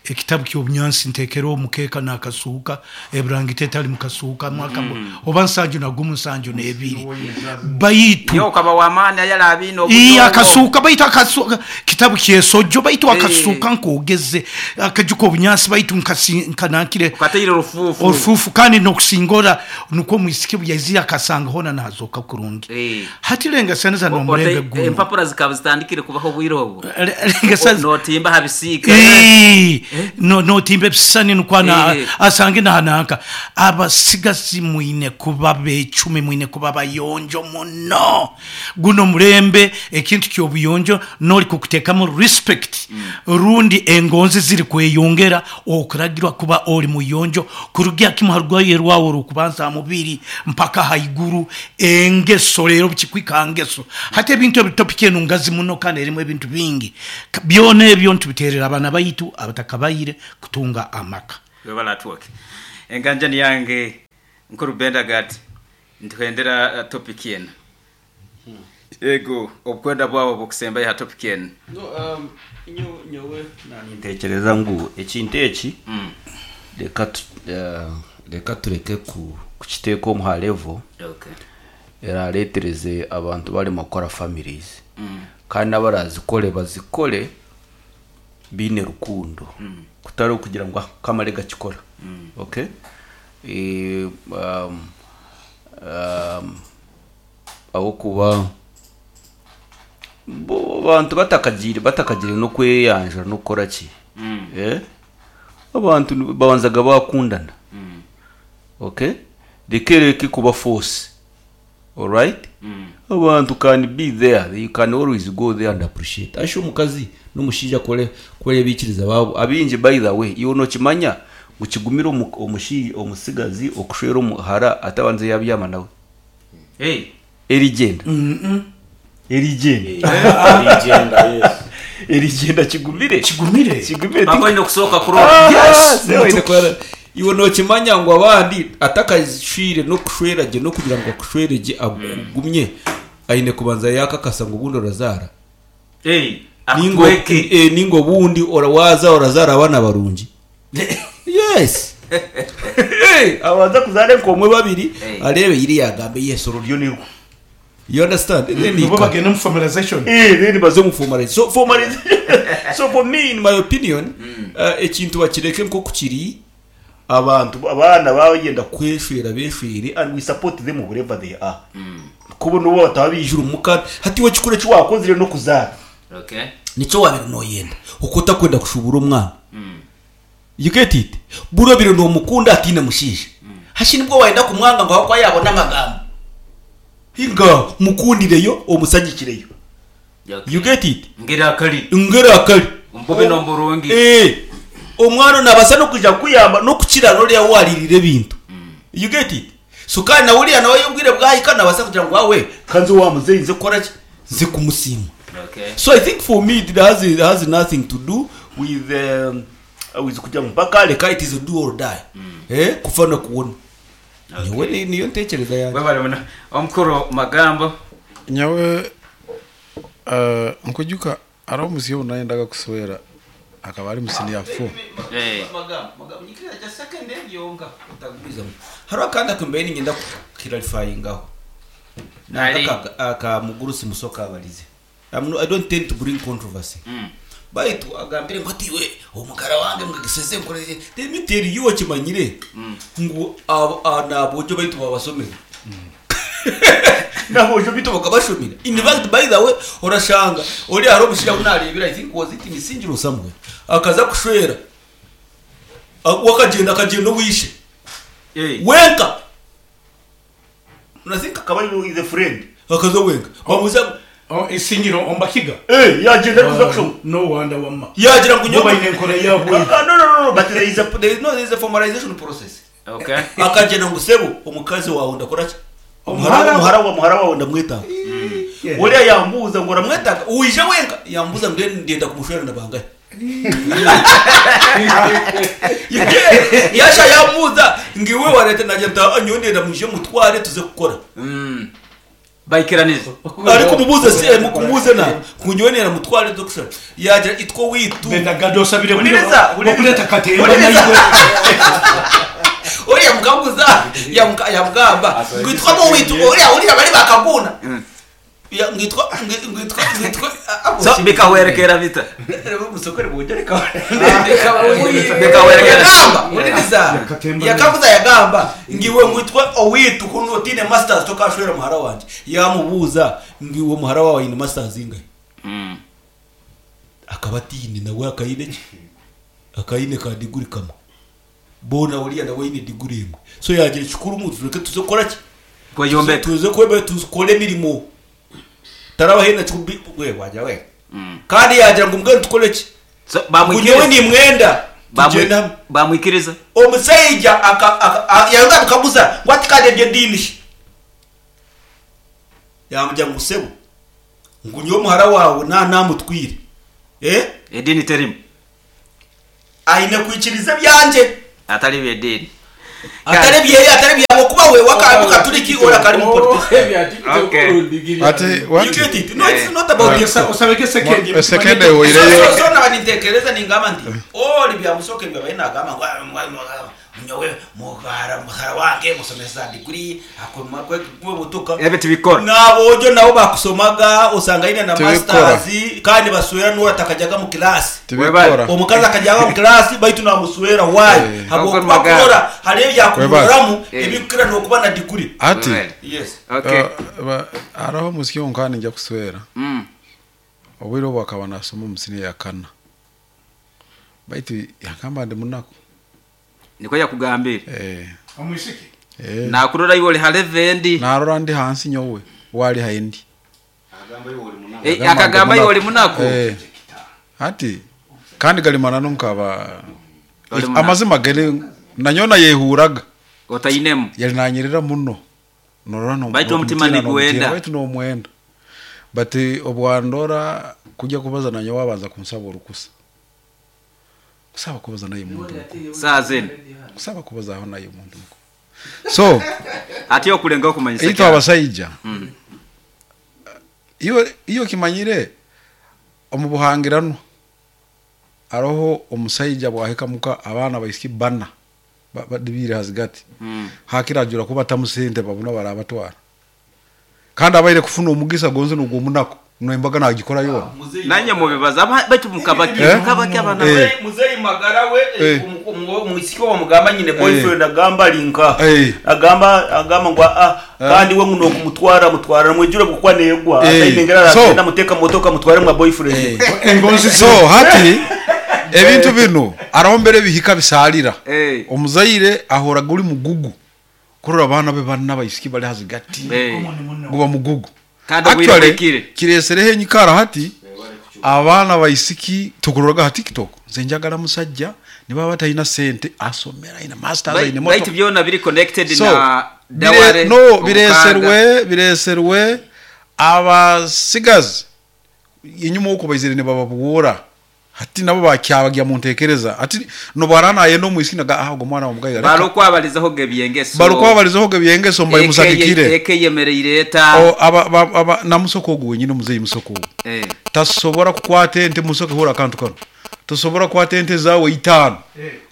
[SPEAKER 12] ekitabu ky'obunyansi ntekera omukeka nakasuuka eburangite tali mukasuuka mwaka oba nsanju na gumu nsanju nebiri baitu
[SPEAKER 2] yo kaba wamana yala abino
[SPEAKER 12] akasuuka baitu akasuuka kitabu kyesojo baitu akasuuka nkogeze akajuko obunyansi baitu nkanankire
[SPEAKER 2] ukateyire rufufu
[SPEAKER 12] orufufu kandi nokusingora nuko mwisike buyazira akasanga hona nazoka kurungi. Hati lenga saneza no murembe guno
[SPEAKER 2] empapura zikaba zitandikire kubaho bwiro obwo notimba habisika.
[SPEAKER 12] Notimba ebisisani nukwo
[SPEAKER 2] Eh.
[SPEAKER 12] asange nahananka. Abasigazi mwine kuba becumi, mwine kuba bayonjo muno. Guno mulembe ekintu ky'obuyonjo noli kukuteekamu respect, rundi engonzi ziri kweyongera okuragirwa kuba oli muyonjo kurugira kimu ha rwaye rwawe orukubanza ha mubiri mpaka haiguru. Engeso rero kikwika ngeso. Hati ebintu ebi topic enu ngazi muno kandi erimu ebintu bingi. Byona ebyo ntubiterera abaana baitu abatakabaire kutunga amaka.
[SPEAKER 2] Webala atwoke enganjani yange nkuru Bendagat, ntuhendera topic eno. Ego obukwenda bwawe bukusembayo ha topic eno.
[SPEAKER 13] No, nyowe ntekereza ngu ekintu eki reka tureke kukiteeka omu ha level erareetereze abantu barimo kukora families, kandi n'abarazikore bazikore biine rukundo, kutari okugira ngu "Ah, kamare gakikora." Okay, aho kuba abantu batakagire no kweyanjura no kukora ki, abantu babanzaga bakundana. Okay, reke kuba force. Alright, abantu can be there, you can always go there and appreciate asho omukazi n'omushaija kore kore bikiriza babo abingi. By the way, iwe nokimanya ngu kigumire omusigazi okushwera omuhara atabanze yabyama nawe.
[SPEAKER 2] Hey.
[SPEAKER 13] Erigenda erigenda.
[SPEAKER 11] Erigenda, yes.
[SPEAKER 13] Erigenda kigumire.
[SPEAKER 12] Kigumire.
[SPEAKER 13] Kigumire.
[SPEAKER 2] Bakwenda okusooka kurora.
[SPEAKER 13] Ah,
[SPEAKER 12] Yes.
[SPEAKER 13] se waine kurora. Iwe nokimanya ngu abandi atakashwire n'okushwera gye n'okugira ngu akushwere gye akugumye aine kubanza yakakasa ngu obundi orazaara.
[SPEAKER 2] Hey,
[SPEAKER 13] Ningo
[SPEAKER 2] akutweke.
[SPEAKER 13] Ningo obundi waza orazaara abaana barungi. Yes. Hey, abanza kuzaara enkomwe babiri, arebe iri yagambe yes, oruryo nirwo. You understand? Then
[SPEAKER 12] Nibo bagenda mu formalization.
[SPEAKER 13] Then baze mu formalization. So formalization, so for me, in my opinion, ekintu bakireke nko kiri. Abantu abana bagenda kweshwera beshwere, and we support them wherever they are, kuba nubo bataba bijura umuka hati we kikure cyo no kuzara. Nicyo wabere noyenda uko utakwenda kushubura umwana. You get it? Buro biro nomukunda atine mushisha hashi nibwo wenda kumwanga ngo ahakwa yabona amagambo hinga mukundireyo omusagikireyo. You get it?
[SPEAKER 2] Ngera akali.
[SPEAKER 13] Ngera akali.
[SPEAKER 2] Ombobe nomburungi.
[SPEAKER 13] Omwana nabasa no kuja kuyamba no kukira noriya waririre ebintu. You get it? So kandi nawe uriya nawe yubwire bwahika nabasa kugira ngo wawe kanze wa muzeyi nze kora ki nze kumusiima. So I think for me it has nothing to do with kuja mpaka reka. It is a do or die. Kufa no kuwona. Nyowe niyo ntekereza yanjye.
[SPEAKER 2] Webale muno omukuru magambo.
[SPEAKER 14] Nyawe nkujuka ari omusi obu nayendaga kuswera akaba ari mu senior 4.
[SPEAKER 13] Hariho akandi akumbaye ningenda kukirarifayingaho.
[SPEAKER 2] Nari.
[SPEAKER 13] Aka mugurusi musoka abarize. I don't tend to bring controversy. Baitu agambire ngo atiwe omukara wange mwagiseze nkoreze. Let me tell you, wakimanyire ngu nabojo baitu babasomera nabojo bitu bakabashomera. In fact, by the way, orashanga ori hari omushija unarebera, I think was it in Sinjiro somewhere, akaza kushwera wakagenda akagenda wishe wenka. Unathink
[SPEAKER 15] akaba ari the friend.
[SPEAKER 13] Akaza wenka bamuza.
[SPEAKER 12] Oh, isingiro ombakiga.
[SPEAKER 15] Yagenda kuza kushoma.
[SPEAKER 12] No wonder wamma.
[SPEAKER 13] Yagira ngo
[SPEAKER 12] Bo bayine enkora yabwe.
[SPEAKER 13] Ah, no, no, no, no, but there is a there is no there is a formalization process. Akagenda ngo sebo omukazi wawe ndakora ki
[SPEAKER 12] Omuhara.
[SPEAKER 13] Muhara wawe ndamwetanga. Uriya yambuza ngo uramwetanga uwije wenka yambuza ngo ndenda kumushwera ndabangaye yasha yambuza ngo iwe wa leta najya nta nyowe ndenda muje mutware tuze gukora.
[SPEAKER 2] Baikiraniza.
[SPEAKER 13] Ariko mubuze se mukumuze na kunyowe nera mutware tuze gushora yagira itwo witu.
[SPEAKER 12] Bendagado osabire
[SPEAKER 13] Uliriza,
[SPEAKER 12] okuleta katemba.
[SPEAKER 13] Uliriza.
[SPEAKER 12] Naiwe.
[SPEAKER 13] Uriya mukaguza yamugamba ngwitwa mu witu uriya bari bakaguna. Ya, ngwitwa
[SPEAKER 2] So bikahwerekera bita.
[SPEAKER 13] Musokore bujya reka.
[SPEAKER 2] Bikahwerekera.
[SPEAKER 13] Yagamba uliriza yakaguza yagamba ngiwe ngwitwa owitu kuno otine masters tokashwera muhara wanje. Yamubuza ngiwe muhara wawe ine masters ingahe, akaba atine nawe akayine ki Akaine ka diguri kamwe. Boona oriya nawe aine diguri emwe. So yaagira ekikuru ngu tureke tuze kukora ki?
[SPEAKER 2] Kweyombeka.
[SPEAKER 13] Tuze kweyombeka tukore emirimo. Taraba haine na we wagira we. Kandi yaagira ngu mbwenu tukore ki? Ngu nyowe nimwenda tugyende hamwe.
[SPEAKER 2] Bamwikiriza.
[SPEAKER 13] Omusaija aka aka yayongera amukaguza ngu ati kandi eby'ediini shi? Yaamugira ngu sebo ngu nyowe muhara waawe na naamutwire. Eh?
[SPEAKER 2] Ediini terimu.
[SPEAKER 13] Aine kwikiriza ebyangye.
[SPEAKER 2] Atari eby'ediini.
[SPEAKER 13] Atari ebyeye, atari ebyawe okuba we waka Mukaturiki ori akari Muprotestant.
[SPEAKER 14] Ati
[SPEAKER 13] You get it? No, it's not about
[SPEAKER 14] Ati-
[SPEAKER 13] TikTok.
[SPEAKER 14] Esekende ehoireyo.
[SPEAKER 13] So, so, so naba nintekereza ningamba nti all byamusoke byabaye nagamba ngu "Ah, nyowe muhara muhara wange musomesa degree akoma kwe motoka
[SPEAKER 2] Ebyo tibikora.
[SPEAKER 13] N'aboojo nabo bakusomaga osanga aine na
[SPEAKER 14] Tibikora.
[SPEAKER 13] masters kandi baswera n'oru atakajyaga mu class.
[SPEAKER 14] Tibikora.
[SPEAKER 13] Omukazi akajyaga mu class baitu namuswera why? Habwokuba
[SPEAKER 14] Webale.
[SPEAKER 13] kurora hariyo ebyakuroramu
[SPEAKER 14] Webale.
[SPEAKER 13] ebikukira n'okuba na degree.
[SPEAKER 14] Ati
[SPEAKER 13] Yes.
[SPEAKER 14] Hariho omusiki ogu ningya kuswera obwire obu akaba nasoma omu siniya ya kana baitu yagamba ndi munaku.
[SPEAKER 2] Nikwo yakugambire.
[SPEAKER 14] Eh.
[SPEAKER 12] Omwisiki?
[SPEAKER 14] Eh.
[SPEAKER 2] Nakurora iwe ori ha level endi.
[SPEAKER 14] Narora ndi hansi nyowe wali haindi.
[SPEAKER 2] Eh, akagamba iwe ori munaku.
[SPEAKER 14] Eh. Ati kandi gali mananu nkaba
[SPEAKER 2] Oli munaku.
[SPEAKER 14] Amazima gari nanyona yehuraga
[SPEAKER 2] Otainemu.
[SPEAKER 14] Yali nanyirira muno norora no
[SPEAKER 2] Baitu omutima
[SPEAKER 14] nokumutiina,
[SPEAKER 2] niguwenda.
[SPEAKER 14] nokumutiina, baitu nomwenda but obwandora kujya kubaza nanyowe wabanza kunsaba orukusa kusaba kubaza naye muntu mukuru.
[SPEAKER 2] Saa zinu.
[SPEAKER 14] Kusaba kubazaho naye muntu mukuru so
[SPEAKER 2] Ati okulenga okumanyisa.
[SPEAKER 14] Itwe abasaija iyo iyo kimanyire omu buhangiranwa aroho omusaija bwahika muka abaana baisiki bana badibire hazigati hakira ajura kuba tamusente babona barabatwara kandi abaire kufuna omugisa gonze nugwo omunaku nembaga nagikora yona.
[SPEAKER 2] Nanye mubibaza baitu mukabaki
[SPEAKER 14] Eh?
[SPEAKER 2] mukabaki abana.
[SPEAKER 14] Eh.
[SPEAKER 13] Muzeyi magara we
[SPEAKER 14] Eh.
[SPEAKER 13] omwisiki wamugamba nyine boyfriend agamba alinka
[SPEAKER 14] Eh.
[SPEAKER 13] agamba agamba ngu ah kandi we nguno kumutwara mutwara mwijure bukwa negwa
[SPEAKER 14] Eh.
[SPEAKER 13] atayinengera
[SPEAKER 14] So-
[SPEAKER 13] aragenda muteka motoka mutware mwa boyfriend.
[SPEAKER 14] So hati ebintu bino araho mbere bihika bisalira omuzaire ahoraga uri mugugu kurora abaana be bana baisiki bali hazigati guba mugugu.
[SPEAKER 2] Kandi obwire
[SPEAKER 14] Actually,
[SPEAKER 2] bwikire.
[SPEAKER 14] kiresereho enyikara hati abaana baisiki tukuroraga ha TikTok nze njagala musajja nibaba batalina sente asomera aina masters aine
[SPEAKER 2] Baitu
[SPEAKER 14] moto
[SPEAKER 2] byona biri connected
[SPEAKER 14] so
[SPEAKER 2] na daware.
[SPEAKER 14] no
[SPEAKER 2] obukaga.
[SPEAKER 14] bireserwe bireserwe abasigazi inyuma uko baizire nibababuura hati nabo bakyabagya muntekereza ati nobarana ayenda omwisiki naga ah ogwo mwana wamugaiga
[SPEAKER 2] Barukwabalizaho gebyengeso.
[SPEAKER 14] barukwabalizaho gebyengeso mbaye musagikire
[SPEAKER 2] Ekeyemereire eta.
[SPEAKER 14] O, aba, aba, aba, namusoko ogu wenyine omuzeyi musoko ogu
[SPEAKER 2] Eh.
[SPEAKER 14] tasobora kukwata ente musoke hura akantu kano tosobora kukwata ente zawe itaano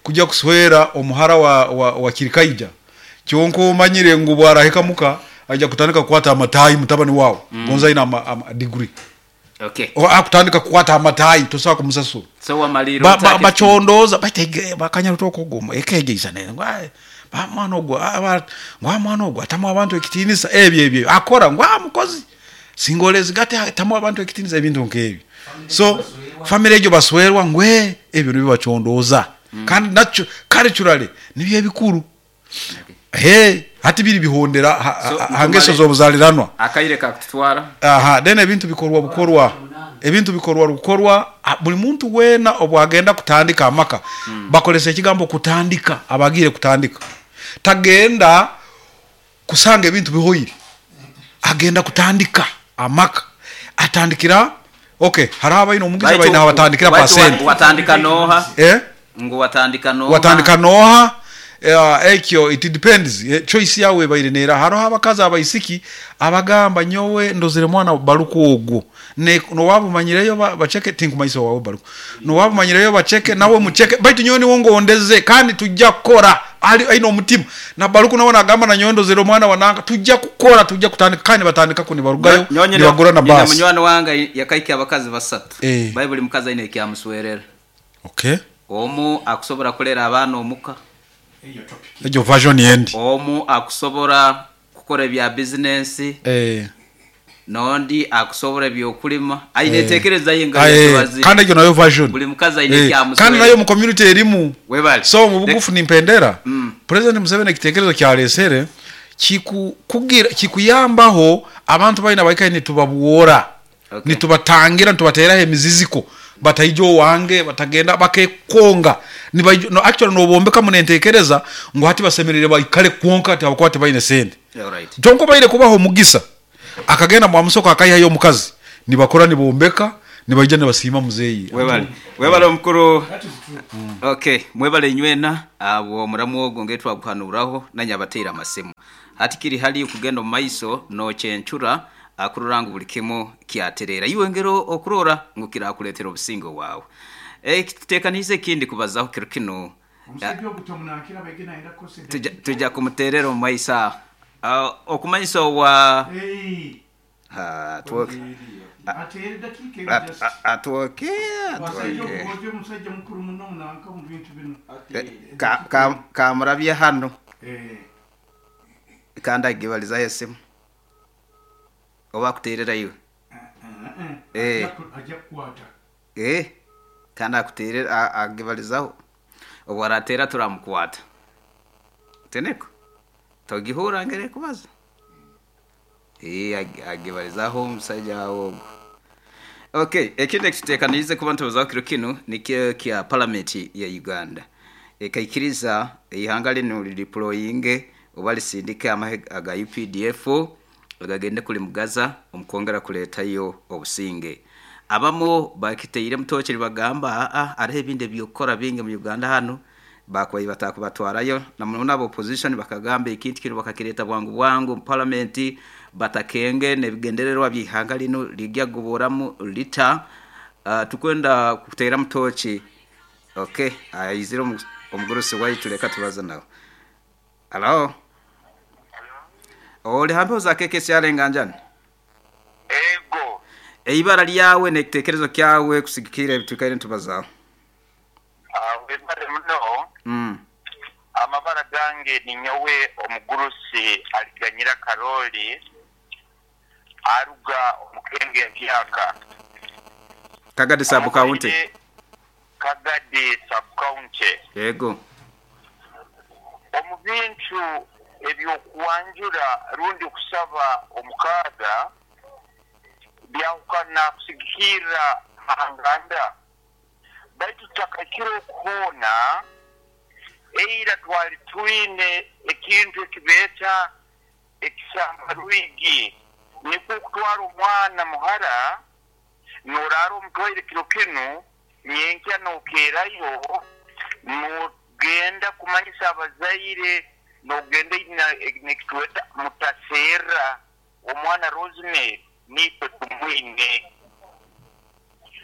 [SPEAKER 14] kujya kuswera omuhara wa kirikaija kyonka omanyire ngu bwarahika muka ajja kutandika kukwata amatayi mutabani wawe gonza aine ama degree.
[SPEAKER 2] Okay.
[SPEAKER 14] O, akutandika kukwata amatayi tosobola kumusasura.
[SPEAKER 2] So wamaliro.
[SPEAKER 14] Bachondoza baitege bakanyarutoka ogwo ekegeisa ne ngu, "Ai, ba mwana ogwo ngwa mwana ogwo atamu abantu ekitinisa ebyo ebyo akora ngwa mukozi singolezi gate atamu abantu ekitinisa ebintu nk'ebyo so family egyo baswerwa ngwe ebyo nibyo bachondoza kandi nakyo culturally nibyo ebikuru he hati biri bihondera
[SPEAKER 2] So,
[SPEAKER 14] hangeso z'obuzaliranwa.
[SPEAKER 2] Akaire kakutwara.
[SPEAKER 14] Aha then ebintu bikorwa bukorwa ebintu bikorwa rukorwa buli muntu wena obwagenda kutandika amaka bakolesa ekigambo kutandika abagire kutandika tagenda kusanga ebintu bihoire agenda kutandika amaka atandikira okay hariho abaine omugisa baine abatandikira
[SPEAKER 2] Baitu
[SPEAKER 14] pasente
[SPEAKER 2] Watandika noha.
[SPEAKER 14] Eh?
[SPEAKER 2] Ngu watandika noha.
[SPEAKER 14] Watandika noha ekyo it depends choice yawe ebaire neera hariho abakazi abaisiki abagamba nyowe ndozere mwana baruku ogwo ne nowabumanyireyo bacheke tinkumaisa wawe baruku nowabumanyireyo bacheke nawe mucheke baitu nyowe niwo ngondeze kandi tujja kukora ali aine omutima na baruku nawe nagamba na nyowe ndozere omwana wananga tujja kukora tujja kutandika kandi batandika ko nibarugayo nibagura na
[SPEAKER 2] Nyina
[SPEAKER 14] basi.
[SPEAKER 2] Munywani wange yakaika abakazi basatu.
[SPEAKER 14] Eh.
[SPEAKER 2] Baibuli mukazi aine ekyamuswerera.
[SPEAKER 14] Okay.
[SPEAKER 2] Omu akusobora kulera abaana omuka.
[SPEAKER 14] Egyo version yendi.
[SPEAKER 2] Omu akusobora kukora ebya bizinensi.
[SPEAKER 14] Eh.
[SPEAKER 2] N'ondi akusobora ebyokulima aine
[SPEAKER 14] Eh.
[SPEAKER 2] entekereza ye nga
[SPEAKER 14] Ah, eh,
[SPEAKER 2] yatubazi.
[SPEAKER 14] kandi egyo nayo version.
[SPEAKER 2] Buli mukazi aine
[SPEAKER 14] Eh,
[SPEAKER 2] ekyamuswera.
[SPEAKER 14] kandi nayo mu community erimu.
[SPEAKER 2] Webale.
[SPEAKER 14] So mu bugufu nimpendera
[SPEAKER 2] Mm.
[SPEAKER 14] President Museveni ekitekerezo kyalesere kikukugira kikuyambaho abantu baina baikaire nitubabwora
[SPEAKER 2] Okay.
[SPEAKER 14] nitubatangira nitubateraho emiziziko bataija owange batagenda bakekonga nibaija no, actually nobombeka munentekereza ngu hati basemerire baikale kwonka ati habwokuba tibaine sente.
[SPEAKER 2] Alright.
[SPEAKER 14] Kyonka obaire kubaho omugisa akagenda mwamusoko akaihayo omukazi nibakora nibombeka nibaija nibasiima muzeeyi.
[SPEAKER 2] Webale. Webale omukuru. Okay, mwebale inywena abo omuramu ogwo ngetwaguhanuraho nanye abateire amasimu. Hati kiri hali okugenda omu maiso nokyencura akurora ngu buli kimu kyaterera. Iwe ngero okurora ngu kirakuleetera obusingo bwawe. Tuteekaniize ekindi kubazaho kiro kinu.
[SPEAKER 12] Omusajja ogu tomunankira baige nayenda kukozesa
[SPEAKER 2] Tuja, tuja kumuterera omu maiso aho. Okumanyisa owa
[SPEAKER 12] Hey.
[SPEAKER 2] Ha, twoke.
[SPEAKER 12] Ateere dakiika emu just.
[SPEAKER 2] Atwoke,
[SPEAKER 12] Abasajja
[SPEAKER 2] atwoke.
[SPEAKER 12] ogu omusajja mukuru muno munanka omu bintu binu.
[SPEAKER 2] Kamurabye hano.
[SPEAKER 12] Eh.
[SPEAKER 2] Kandi agibalizaho esimu. Oba akuterera iwe. Eh.
[SPEAKER 12] Ajja kukwata.
[SPEAKER 2] Eh. Kandi akuterera agibalizaho. Obu aratera turamukwata. Teneko. Togihura ngere kubaza. Eh, agibalizaho omusajja ogwo. Okay, ekindi ekituteekaniize kuba nitubazaho kiro kinu nikyo kya palamenti ya Uganda. Ekaikiriza eihanga linu lideployinge oba lisindike amahe aga UPDF agagende kuli Mugaza omukwongera kuleetayo obusinge. Abamu bakiteire mutoki nibagamba aa hariho ebindi ebyokukora bingi mu Uganda hanu bakubaire batakubatwarayo na muno aba opposition bakagamba ekintu kinu bakakireeta bwangu bwangu mu palamenti batakenge n'ebigendererwa by'ihanga linu lijja kugoboramu lita. Tukwenda kuteera mutoki. Okay, aizire omugurusi waitu leka tubaze nawe. Hello. Oli hampeho za keke syarenganjani?
[SPEAKER 16] Ego.
[SPEAKER 2] Eibara lyawe n'ekitekerezo kyawe kusigikira ebitukaire nitubazaho.
[SPEAKER 16] Webale muno. Amabara gange ni nyowe omugurusi aliganyira Karoli aruga omukenge emyaka.
[SPEAKER 2] Kagadi sub county.
[SPEAKER 16] Kagadi sub county.
[SPEAKER 2] Yego.
[SPEAKER 16] Omu bintu ebyokuwanjura rundi kusaba omukaaga byahukana kusigikirra hanganda baitu tutakakira okuhoona eira twali twine ekintu ekibeeta ekisamba rwigi nikwo okutwara omwana muhara noraara omutwaire kiro kinu nyenkya nokeerayo nogenda kumanyisa abazaire nogenda nekitweta mutaseera omwana Rosemary nitwe tumwine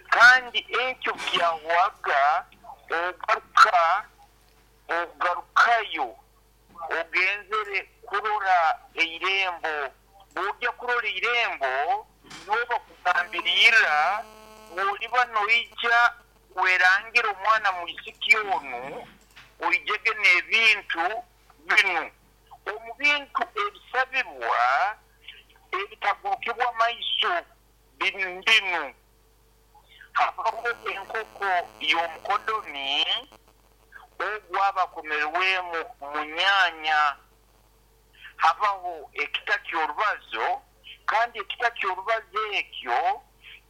[SPEAKER 16] kandi ekyo kyahwaga ogaruka ogarukayo ogenzere kurora eirembo bwojja kurora eirembo noba kugambirira bwoliba noija werangira omwana mwisiki onu oijege n'ebintu binu omu bintu ebisabibwa ebitagurukibwa maiso binu habaho enkoko y'omukodomi ogwaba akomerwemu munyanya habaho ekita ky'orubazo kandi ekita ky'orubazo ekyo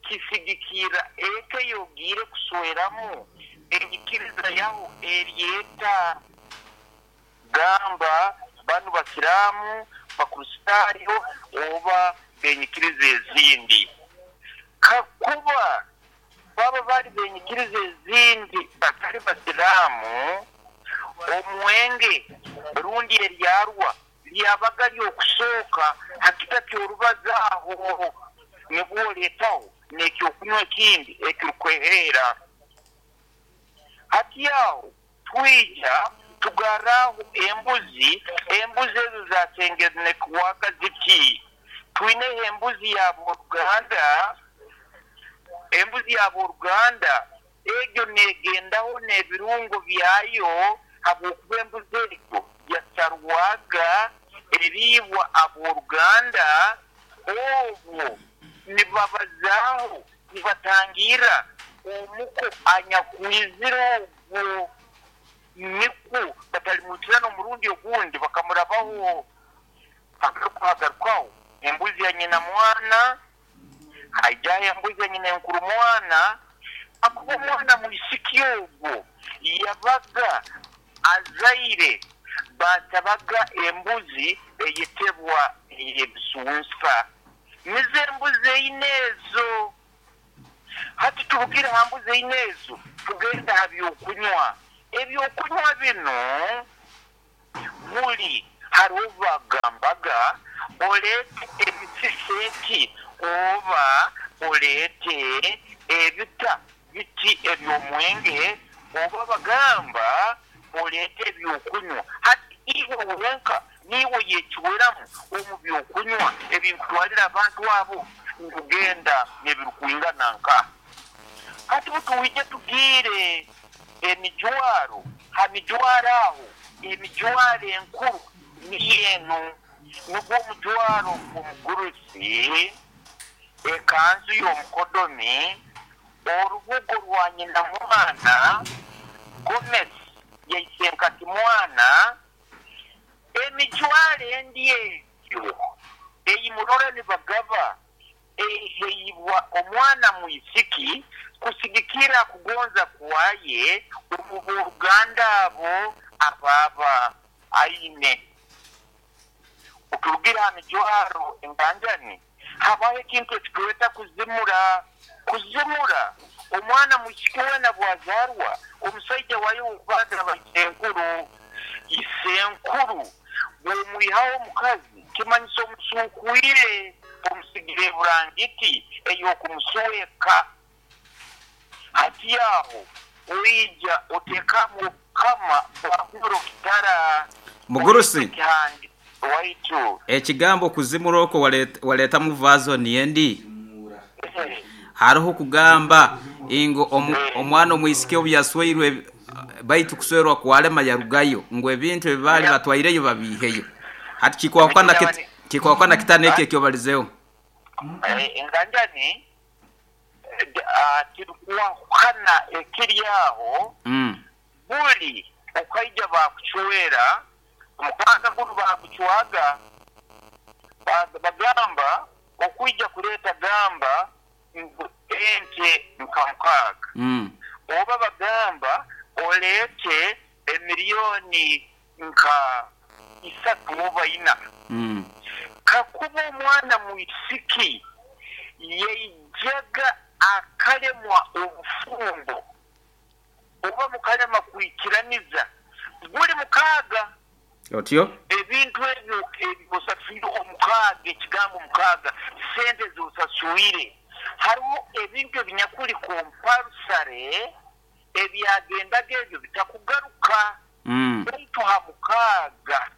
[SPEAKER 16] kisigikira eka yogiire kusweramu enyikiriza yaho eryeta gamba banu basiraamu bakristaayo oba benyikiriza ezindi kakuba baba bali benyikiriza ezindi batali basiraamu omwenge rundi eryarwa lyabaga lyokusooka hakita kyorubaza aho nibwo oleetaho n'ekyokunywa ekindi ekirukweheera hati aho twija tugarraho embuzi embuzi ezo zasengenekwaga ziti twineho embuzi ya boruganda embuzi ya boruganda egyo negendaho n'ebirungo byayo habwokuba embuzi egyo yasarwaga eriibwa aboruganda Obwo nibabazaaho nibatangira omuko anyakwizire ogwo nikwo batalimwitirana omurundi ogundi bakamurabaho hagarukaho embuzi ya nyina mwana haijaho embuzi ya nyina enkuru mwana akuba omwana mwisiki ogwo yabaga azaire basabaga embuzi eyetebwa eyebisunsa nizo embuzi eine ezo. Hati tubugire ha mbuzi eine ezo tugenda ha byokunywa. Ebyokunywa bino buli hariho bagambaga oleete ebisiseki oba oleete ebita biti ebyomwenge oba bagamba oleete ebyokunywa. Hati iwe wenka niiwe yekiweramu omu byokunywa ebinkutwalira abantu abo nkugenda nebirukwingana nka. Hati butuwije tugiire emijwaro ha mijwaro aho emijwaro enkuru niyo enu nugwo omujwaro omugurusi ekanzu y'omukodomi orubugo rwa nyina mwana gomesi yaisenkati mwana emijwaro endi egyo eyimurora nibagaba eheibwa omwana mwisiki kusigikira kugonza kwaye omu boruganda abo ababa aine. Oturugira ha mijwaro enganjani habaho ekintu ekitureeta kuzimura. Kuzimura omwana mwisiki wena bwazarwa omusaija wayo okubanza baisenkuru isenkuru bwomwihaho omukazi kimanyisa omusuukwire omusigire burangiti ey'okumusweka. Hati aho oija otekamu kama bwahuro kitara
[SPEAKER 2] mugurusi
[SPEAKER 16] waitu
[SPEAKER 2] ekigambo kuzimura okwo waletamu vazoni endi hariho kugamba ingo omwana omwisiki obu yasweirwe baitu kuswerwa kwalema yarugayo ngu ebintu ebibali batwaireyo babiiheyo. Hati kikwakwana kitana ekyo ekyobalizeho
[SPEAKER 16] enganjani kirikuwahukana ekiri aho buli okaija bakucwera omukaaga gunu bakucwaga bagamba okwija kuleeta gamba ngu ente nka mukaaga oba bagamba oleete emiliyoni nka 3 oba 4. Kakuba omwana mwisiki yaijaga akalemwa obufumbo oba mukalema kwikiraniza guli mukaaga
[SPEAKER 2] otyo
[SPEAKER 16] ebintu ebyo ebisasuire omukaaga ekigambo mukaaga sente zosasuire hariho ebintu ebinyakuli kompalsare ebyagendaga ebyo bitakugaruka baitu ha mukaaga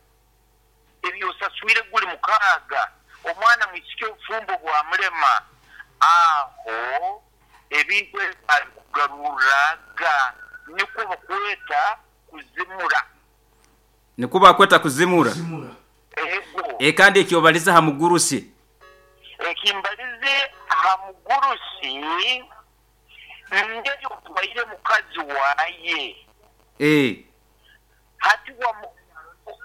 [SPEAKER 16] ebyosasuire guli mukaaga omwana mwisiki obufumbo bwamulema aho ebintu ebikugaruraga nikwo bakweta kuzimura.
[SPEAKER 2] Nikwo bakweta kuzimura. Kandi ekyobalize ha mugurusi
[SPEAKER 16] ekimbalize ha mugurusi ngeri otwaire mukazi waye hati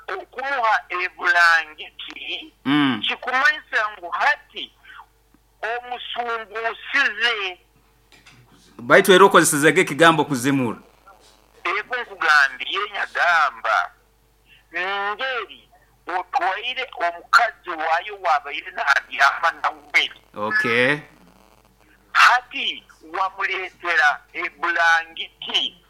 [SPEAKER 16] okumuha ebulangiti kikumanyisa ngu hati omusumbusize
[SPEAKER 2] baitu era okozesezege ekigambo kuzimura.
[SPEAKER 16] Ego nkugambye nyagamba ngeri otwaire omukazi wayo wabaire nabyama nawe.
[SPEAKER 2] Okay.
[SPEAKER 16] Hati wamuleetera ebulangiti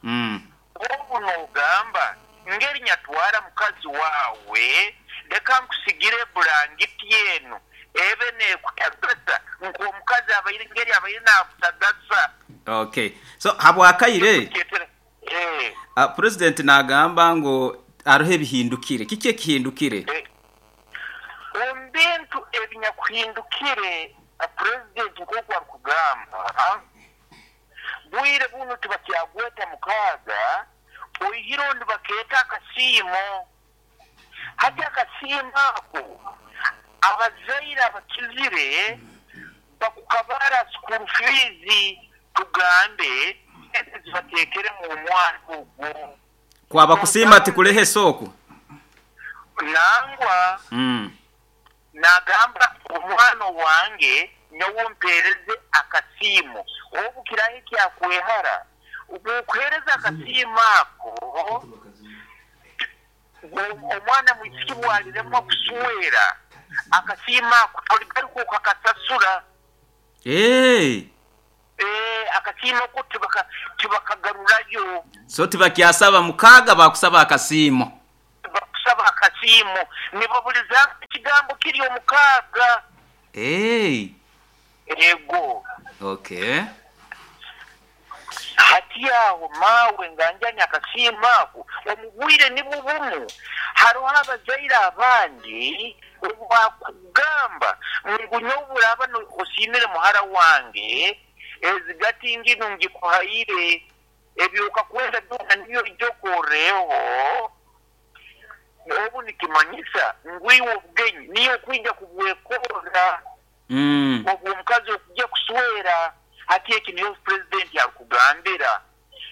[SPEAKER 16] obu nogamba ngeri nyatwara mukazi wawe leka nkusigire ebulangiti eno ebe nekutagasa nk'omukazi abaire ngeri abaire nakutagasa.
[SPEAKER 2] Okay. So habwakaire president nagamba ngo arohe ebihindukire kiki ekihindukire?
[SPEAKER 16] Omu bintu ebinyakuhindukire president nk'oku arikugamba bwire buno tibakyagweta mukaaga oihire ondi bakeeta akasiimo. Hati akasiimo ako Abazaire abakizire bakukabara school fees tugambe sente zibateekeremu omwana ogwo.
[SPEAKER 2] Kwaba kusiima tikulehesa oku.
[SPEAKER 16] Nangwa nagamba omwana owange nyowe ompereze akasiimo obu kirahe kyakwehara bwokuhereza akasiimo ako omwana mwisiki bwaliremwa kuswera akasiimo ako toligaruka okakasasura. Akasiimo ko tibakagarurayo.
[SPEAKER 2] So tibakyasaba mukaaga bakusaba akasiimo.
[SPEAKER 16] Bakusaba akasiimo nibabuliza ekigambo kiri omukaaga. Ego.
[SPEAKER 2] Okay.
[SPEAKER 16] Hati aho maawe nganjani akasiimo ako omu bwire nibwo bumu hariho abazaire abandi obwakugamba ngu nyowe buraba osiimire muhara wange ezigati nginu ngikuhaire ebyoka kwenda byona nibyo ijja okorreho obu nikimanyisa ngu iwe obugenyi niyo okwija kubwekorra obwo omukazi okujja kuswera. Hati eki niyo purezidenti arikugambira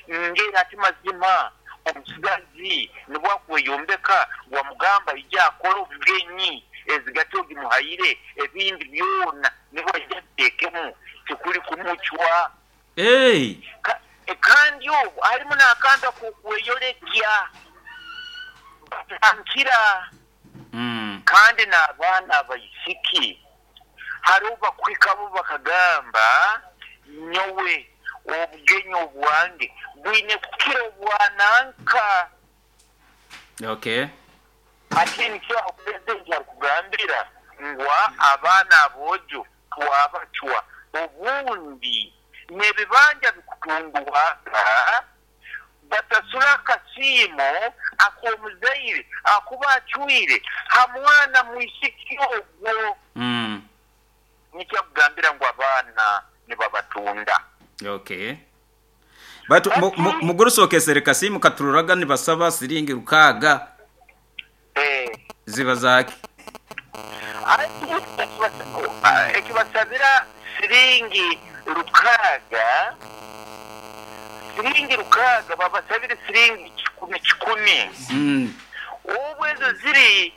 [SPEAKER 16] ngeri ati mazima omusigazi nibwo akweyombeka wamugamba ija akore obugenyi ezigati ogimuhaire ebindi byona nibwo ajja ateekemu tikuri kumucwa. Kandi obu harimu n'akantu ak'okweyorekya batankira. Kandi n'abaana abaisiki hariho bakuhikabo bakagamba nyowe obugenyi obwange bwine kukira obwananka.
[SPEAKER 2] Okay.
[SPEAKER 16] Ate nikyo aho purezidenti arikugambira ngu abaana aboojo twabacwa obundi n'ebibanja bikutundwaga batasura akasiimo ak'omuzaire akuba acwire ha mwana mwisiki ogwo. Nikyo akugambira ngu abaana nibabatunda.
[SPEAKER 2] Okay. Batu mugurusokesere kasimu katururaga nibasaba siringi 6 ziba zaki.
[SPEAKER 16] Ekibasabira siringi 6, siringi 6 babasabire siringi 10 10. Obu ezo ziri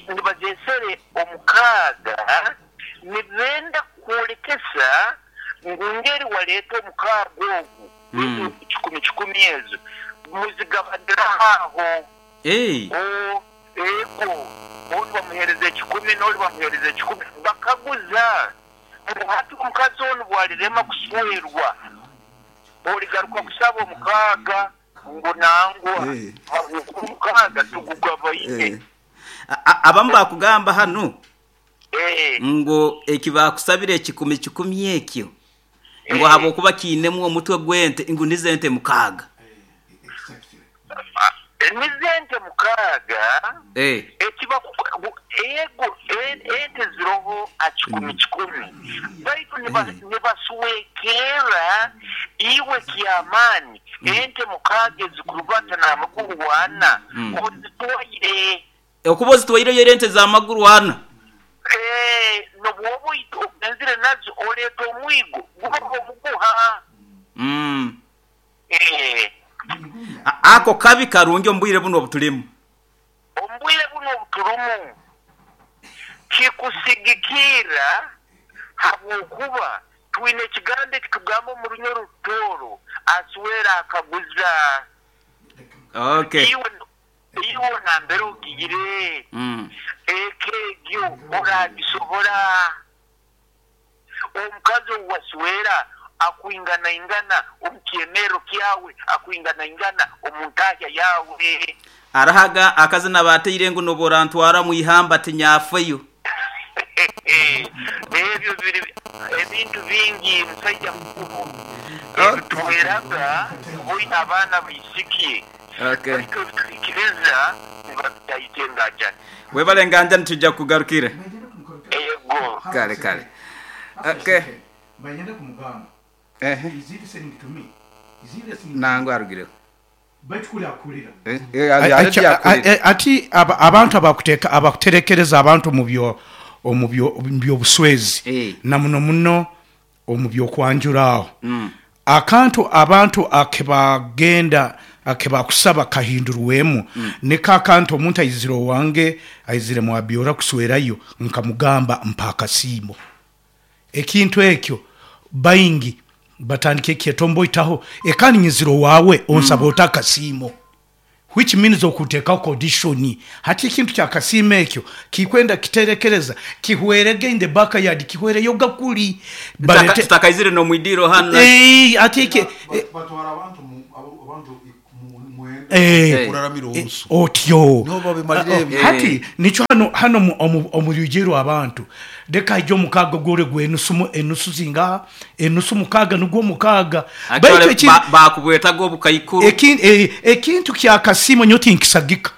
[SPEAKER 16] nibazesere omukaaga nibenda kwolekesa ngu ngeri waleeta omukaaga ogu 10 10 ezo muzigabadira aho. Ego oli bamuhereza 10 n'oli bamuhereza 10 bakaguza ngu hati omukazi onu bwalirema kuswerwa oligaruka kusaba omukaaga ngu nangwa omukaaga tugugabaine.
[SPEAKER 2] Abamu bakugamba hanu ngu ekibakusabire 10 10 ekyo ngu habwokuba kiinemu omutwe gw'ente ngu nizo ente 6.
[SPEAKER 16] Nizo ente 6. Ego ente ziroho a 10 10 baitu nibaswekera iwe kyamaani ente 6 ezikurubata n'amaguru 4 ozitwaire.
[SPEAKER 2] Okuba ozitwaireyo era ente z'amaguru 4.
[SPEAKER 16] Nobwoba ogenzire nazo oleeta omwigo guba omuguha.
[SPEAKER 2] Ako kabi karungi omu bwire buno obutulimu.
[SPEAKER 16] Omu bwire buno obuturumu kikusigikirra habwokuba twine ekigambo ekitugamba omu runyoro Rutooro aswera akaguza.
[SPEAKER 2] Okay.
[SPEAKER 16] Iwe nambere ogiyire eka egyo oragisobora omukazi owaswera akwinganaingana omu kyemero kyawe akwinganaingana omu ntahya yawe.
[SPEAKER 2] Arahaga akazina bateire ngu noborantwara mu ihamba tinyafeyo.
[SPEAKER 16] Ebyo biri ebintu bingi musajja mukuru ebituhweraga boina abaana baisiki.
[SPEAKER 2] Okay.
[SPEAKER 16] Baitu ebituhikiriza nibabitaita engajani.
[SPEAKER 2] Webale nganjani tujja kugarukire.
[SPEAKER 16] Ego.
[SPEAKER 2] Kale kale. Okay.
[SPEAKER 12] Bayenda kumugamba. Is he listening to me? Is he listening to me?
[SPEAKER 2] Nangwa arugireho.
[SPEAKER 12] Ati abantu abakuterekereza abantu omu by'obuswezi na muno muno omu by'okwanjura aho, akantu abantu akebagenda akebakusaba kahindurwemu niko akantu omuntu aizire owange aizire mu Abiora kuswerayo nkamugamba mpa akasiimo. Ekintu ekyo baingi batandika ekyetomboitaho ekandi nyizire owaawe onsaba ota akasiimo which means okuntekaho condition. Hati ekintu kyakasiimo ekyo kikwenda kiterekereza kihwerege in the backyard kihwereyoga kuri
[SPEAKER 2] barete. Tutakaizire n'omwidiiro hanu.
[SPEAKER 12] Eeh ati eki.
[SPEAKER 14] Batwara abantu abantu mwenda
[SPEAKER 12] Eh,
[SPEAKER 14] kuraramira orusu.
[SPEAKER 12] Otyo.
[SPEAKER 14] Niho babimalira ebyo.
[SPEAKER 12] Hati nikyo hano hano omu rwigi rw'abantu leka haije omukaaga ogwore gw'enusu enusu zingaha? Enusu mukaaga nugwo mukaaga. Baitu
[SPEAKER 2] Actually,
[SPEAKER 12] ekintu
[SPEAKER 2] bakubwetaga obukaikuru.
[SPEAKER 12] Ekintu ky'akasiimo nyowe tinkisagika.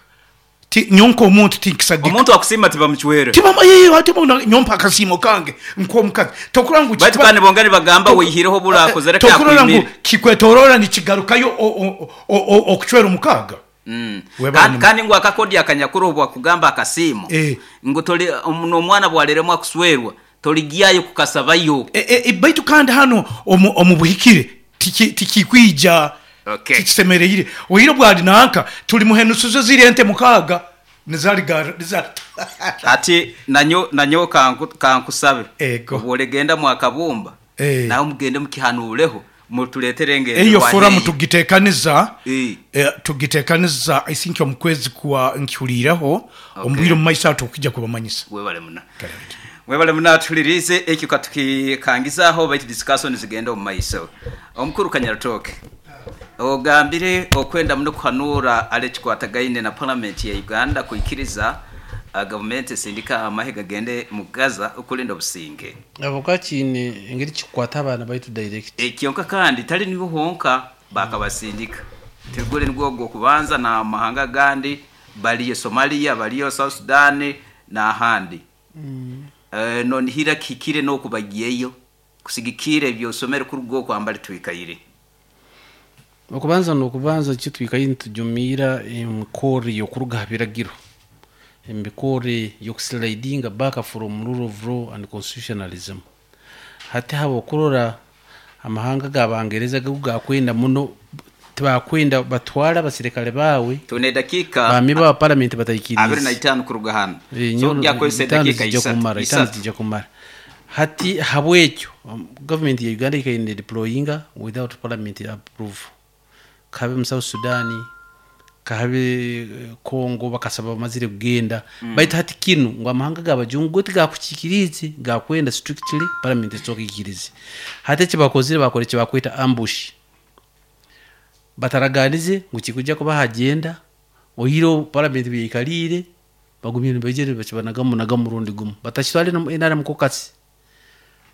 [SPEAKER 12] Ti, nyowe nk'omuntu tinkisagika.
[SPEAKER 2] Omuntu akusiima tibamucwera.
[SPEAKER 12] Tibama, yee, hati bona nyowe mpa akasiimo kange nk'omukazi. Tokurora ngu
[SPEAKER 2] Baitu
[SPEAKER 12] kiba,
[SPEAKER 2] kandi bongera nibagamba waihireho buli akozere ki
[SPEAKER 12] tokurora ngu
[SPEAKER 2] akwimire.
[SPEAKER 12] kikwetoroora nikigarukayo okucwera omukaaga? Webale
[SPEAKER 2] Kandi,
[SPEAKER 12] muno.
[SPEAKER 2] kandi ngu akakodyo akanyakuru obu akugamba akasiimo, ngu toli, n'omwana bw'aliremwa kuswerwa, toligyayo kukasabayo.
[SPEAKER 12] Baitu kandi hanu omu buhikire tikikwija, tikisemereire. Oire obwali nanka tulimuha enusu ze ziri ente mukaaga
[SPEAKER 2] Hati nanyowe kankusabe, obu oligenda mwakabumba, nawe mugende mukihanuureho, mutuleetere
[SPEAKER 12] Eyo
[SPEAKER 2] engendererwa
[SPEAKER 12] foramu
[SPEAKER 2] eyo.
[SPEAKER 12] tugitekaniza, tugitekaniza I think omu kwezi kwa nkihuliireho, omu bwire omu maiso aho tukwija kubamanyisa.
[SPEAKER 2] Webale muno. Mwebale muno atuhuliriize, ekyo katukikangize aho baitu discussion zigende omu maiso. Omukuru Kanyarutooke, ogambire okwenda muno kuhanuura hali ekikwatagaine na Palamenti ya Uganda kwikiriza gavumenti esindike amahe gagende mu Gaza okulinda obusinge.
[SPEAKER 10] Habwokuba kiine engeri kikukwata abaana baitu direct.
[SPEAKER 2] Kyonka kandi tali niho honka bakabasindika. Tiguli nigwo ogw'okubanza n'amahanga agandi baliyo Somalia, baliyo South Sudan n'ahandi. Nonihira kihikire n'okubagyeyo kusigikirra eby'osomere kuruga oku ambali twikaire?
[SPEAKER 10] Okubanza n'okubanza nikyo twikaire nitujumirra emikorre y'okuruga ha biragiro, emikorre y'okuslidinga back from rule of law and constitutionalism. Hati habw'okurora amahanga g'Abangereza go gakwenda muno, tibakwenda batwale abasirikale baawe,
[SPEAKER 2] Twine edakiika
[SPEAKER 10] ba member ba parliament
[SPEAKER 2] abiri na
[SPEAKER 10] bataikiriize.
[SPEAKER 2] itaano kuruga hanu.
[SPEAKER 10] Eh,
[SPEAKER 2] So
[SPEAKER 10] nyowe
[SPEAKER 2] ogyakozesa
[SPEAKER 10] itaano
[SPEAKER 2] edakiika
[SPEAKER 10] zijja
[SPEAKER 2] isatu.
[SPEAKER 10] kumara, itaano
[SPEAKER 2] Isatu.
[SPEAKER 10] zijja kumara. Hati habwekyo government ya Uganda ikaire nedeployinga without parliament approval. Kabe mu South Sudan, kabe Congo bakasaba bamazire kugenda. Baitu hati kinu ngu amahanga g'abajungu go tigakukikiriize, gakwenda strictly parliament esooke ekikirize. Hati eki bakozire bakora eki bakweta ambush. Bataraganize ngu kikujja kuba ha agenda, oihireho parliament byeikaliire, bagumire nibaija nibakibanagamu naga murundi gumu. Batakitwale n'omu NRM caucus,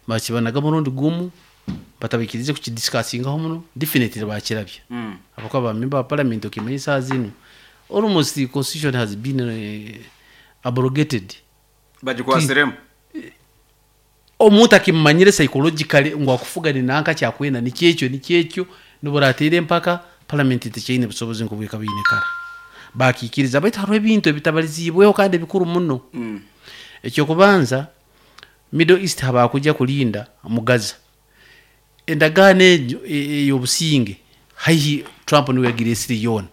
[SPEAKER 10] bakibanaga murundi gumu, batabaikirize kukidiscussingaho muno, definitely bakirabya. Habwokuba ba member ba parliament okimanya esaaha zinu, almost the constitution has been abrogated.
[SPEAKER 2] Bagikwasiremu.
[SPEAKER 10] Omuntu akimumanyire psychologically ngu akufuga ni nanka kyakwenda nikyekyo nikyekyo, nobu orateera empaka, parliament tekyaine busobozi nk'obwekaba eine kara. Bakiikiriza baitu hariho ebintu ebitabaliziibweho kandi ebikuru muno. Ekyokubanza, Middle East habakujja kulinda mu Gaza. Endagaano egyo ey'obusinge haihi Trump niwe yagireesire yoona.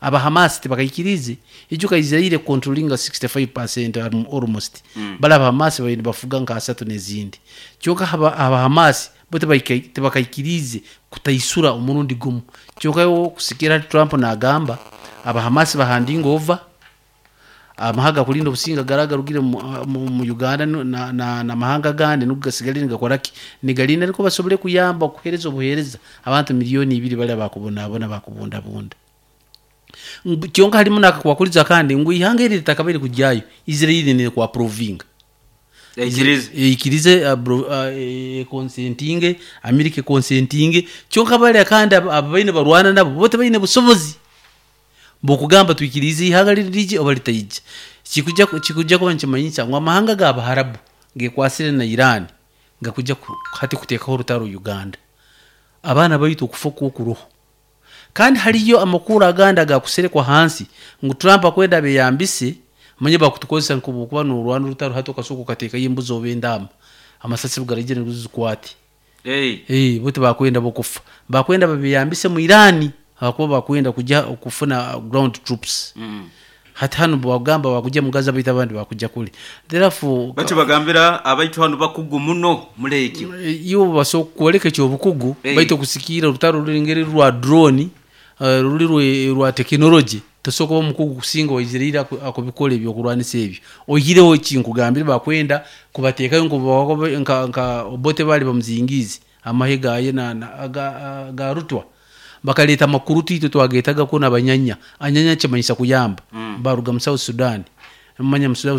[SPEAKER 10] Aba Hamas tibakaikiriize, ijuka Israel econtrollinga 65% almost. Bali aba Hamas babaire nibafuga nka asatu n'ezindi. Kyonka aba Hamas bo tibakaikiriize kutaisura omurundi gumu. Kyonka okusikira hati Trump nagamba aba Hamas bahandinga over, amahe agakulinda obusinge gara agarugire mu Uganda n'amahanga agandi nigo gasigaire nigakora ki? Nigalinda nukwo basobole kuyamba okuheereza obuheereza abantu 2 million bali abakubonabona bakubundabunda. Kyonka harimu n'akakwakurizo akandi ngu ihanga eri litakabaire kugyayo, Israel nekuapprovinga.
[SPEAKER 2] Eikirize.
[SPEAKER 10] Eikirize, econsentinge, America econsentinge, kyonka bariya kandi ababaire nibarwana nabo bo tibaine busobozi bw'okugamba twikiriize ihanga riri rije oba litaija. Kikujja kuba nikimanyisa ngu amahanga g'Abaharabu gekwasire na Iran gakujja hati kuteekaho orutaro Uganda. Abaana baitu okufa okwo kuroho. Kandi haliyo amakuru agandi agakuserekwa hansi ngu Trump akwenda abeyambise, manye bakutukozesa nkokuba norwana orutaro hati okasooka okateekayo embuzi oba endaama, amasasi garaija nigo zikwate.
[SPEAKER 2] Hey.
[SPEAKER 10] Bo tibakwenda bo kufa, bakwenda babeyambise mu Irani ahakuba bakwenda kujya okufuna ground troops. Hati hanu bagamba bakujja mu Gaza, baitu abandi bakujja kuli, therefore
[SPEAKER 2] Batyo bagambira abaitu hanu bakugu muno muri ekyo.
[SPEAKER 10] Iwe basobola kukwoleka ekyobukugu, baitu okusikiira orutaro ruli ngeri rwa drone, ruli rwa tekinology, tosobola kuba omukugu kusinga owaizire ira akubikora ebyokurwanisa ebyo. Oihireho ekinkugambire, bakwenda kubateekayo nka Obote baali bamuzingiize amahe gaye ga rutwa, bakaleeta amakuru itwe twagetaga kunu abanyanya. Anyanya kimanyisa kuyamba. Baruga mu South Sudan, manya mu South.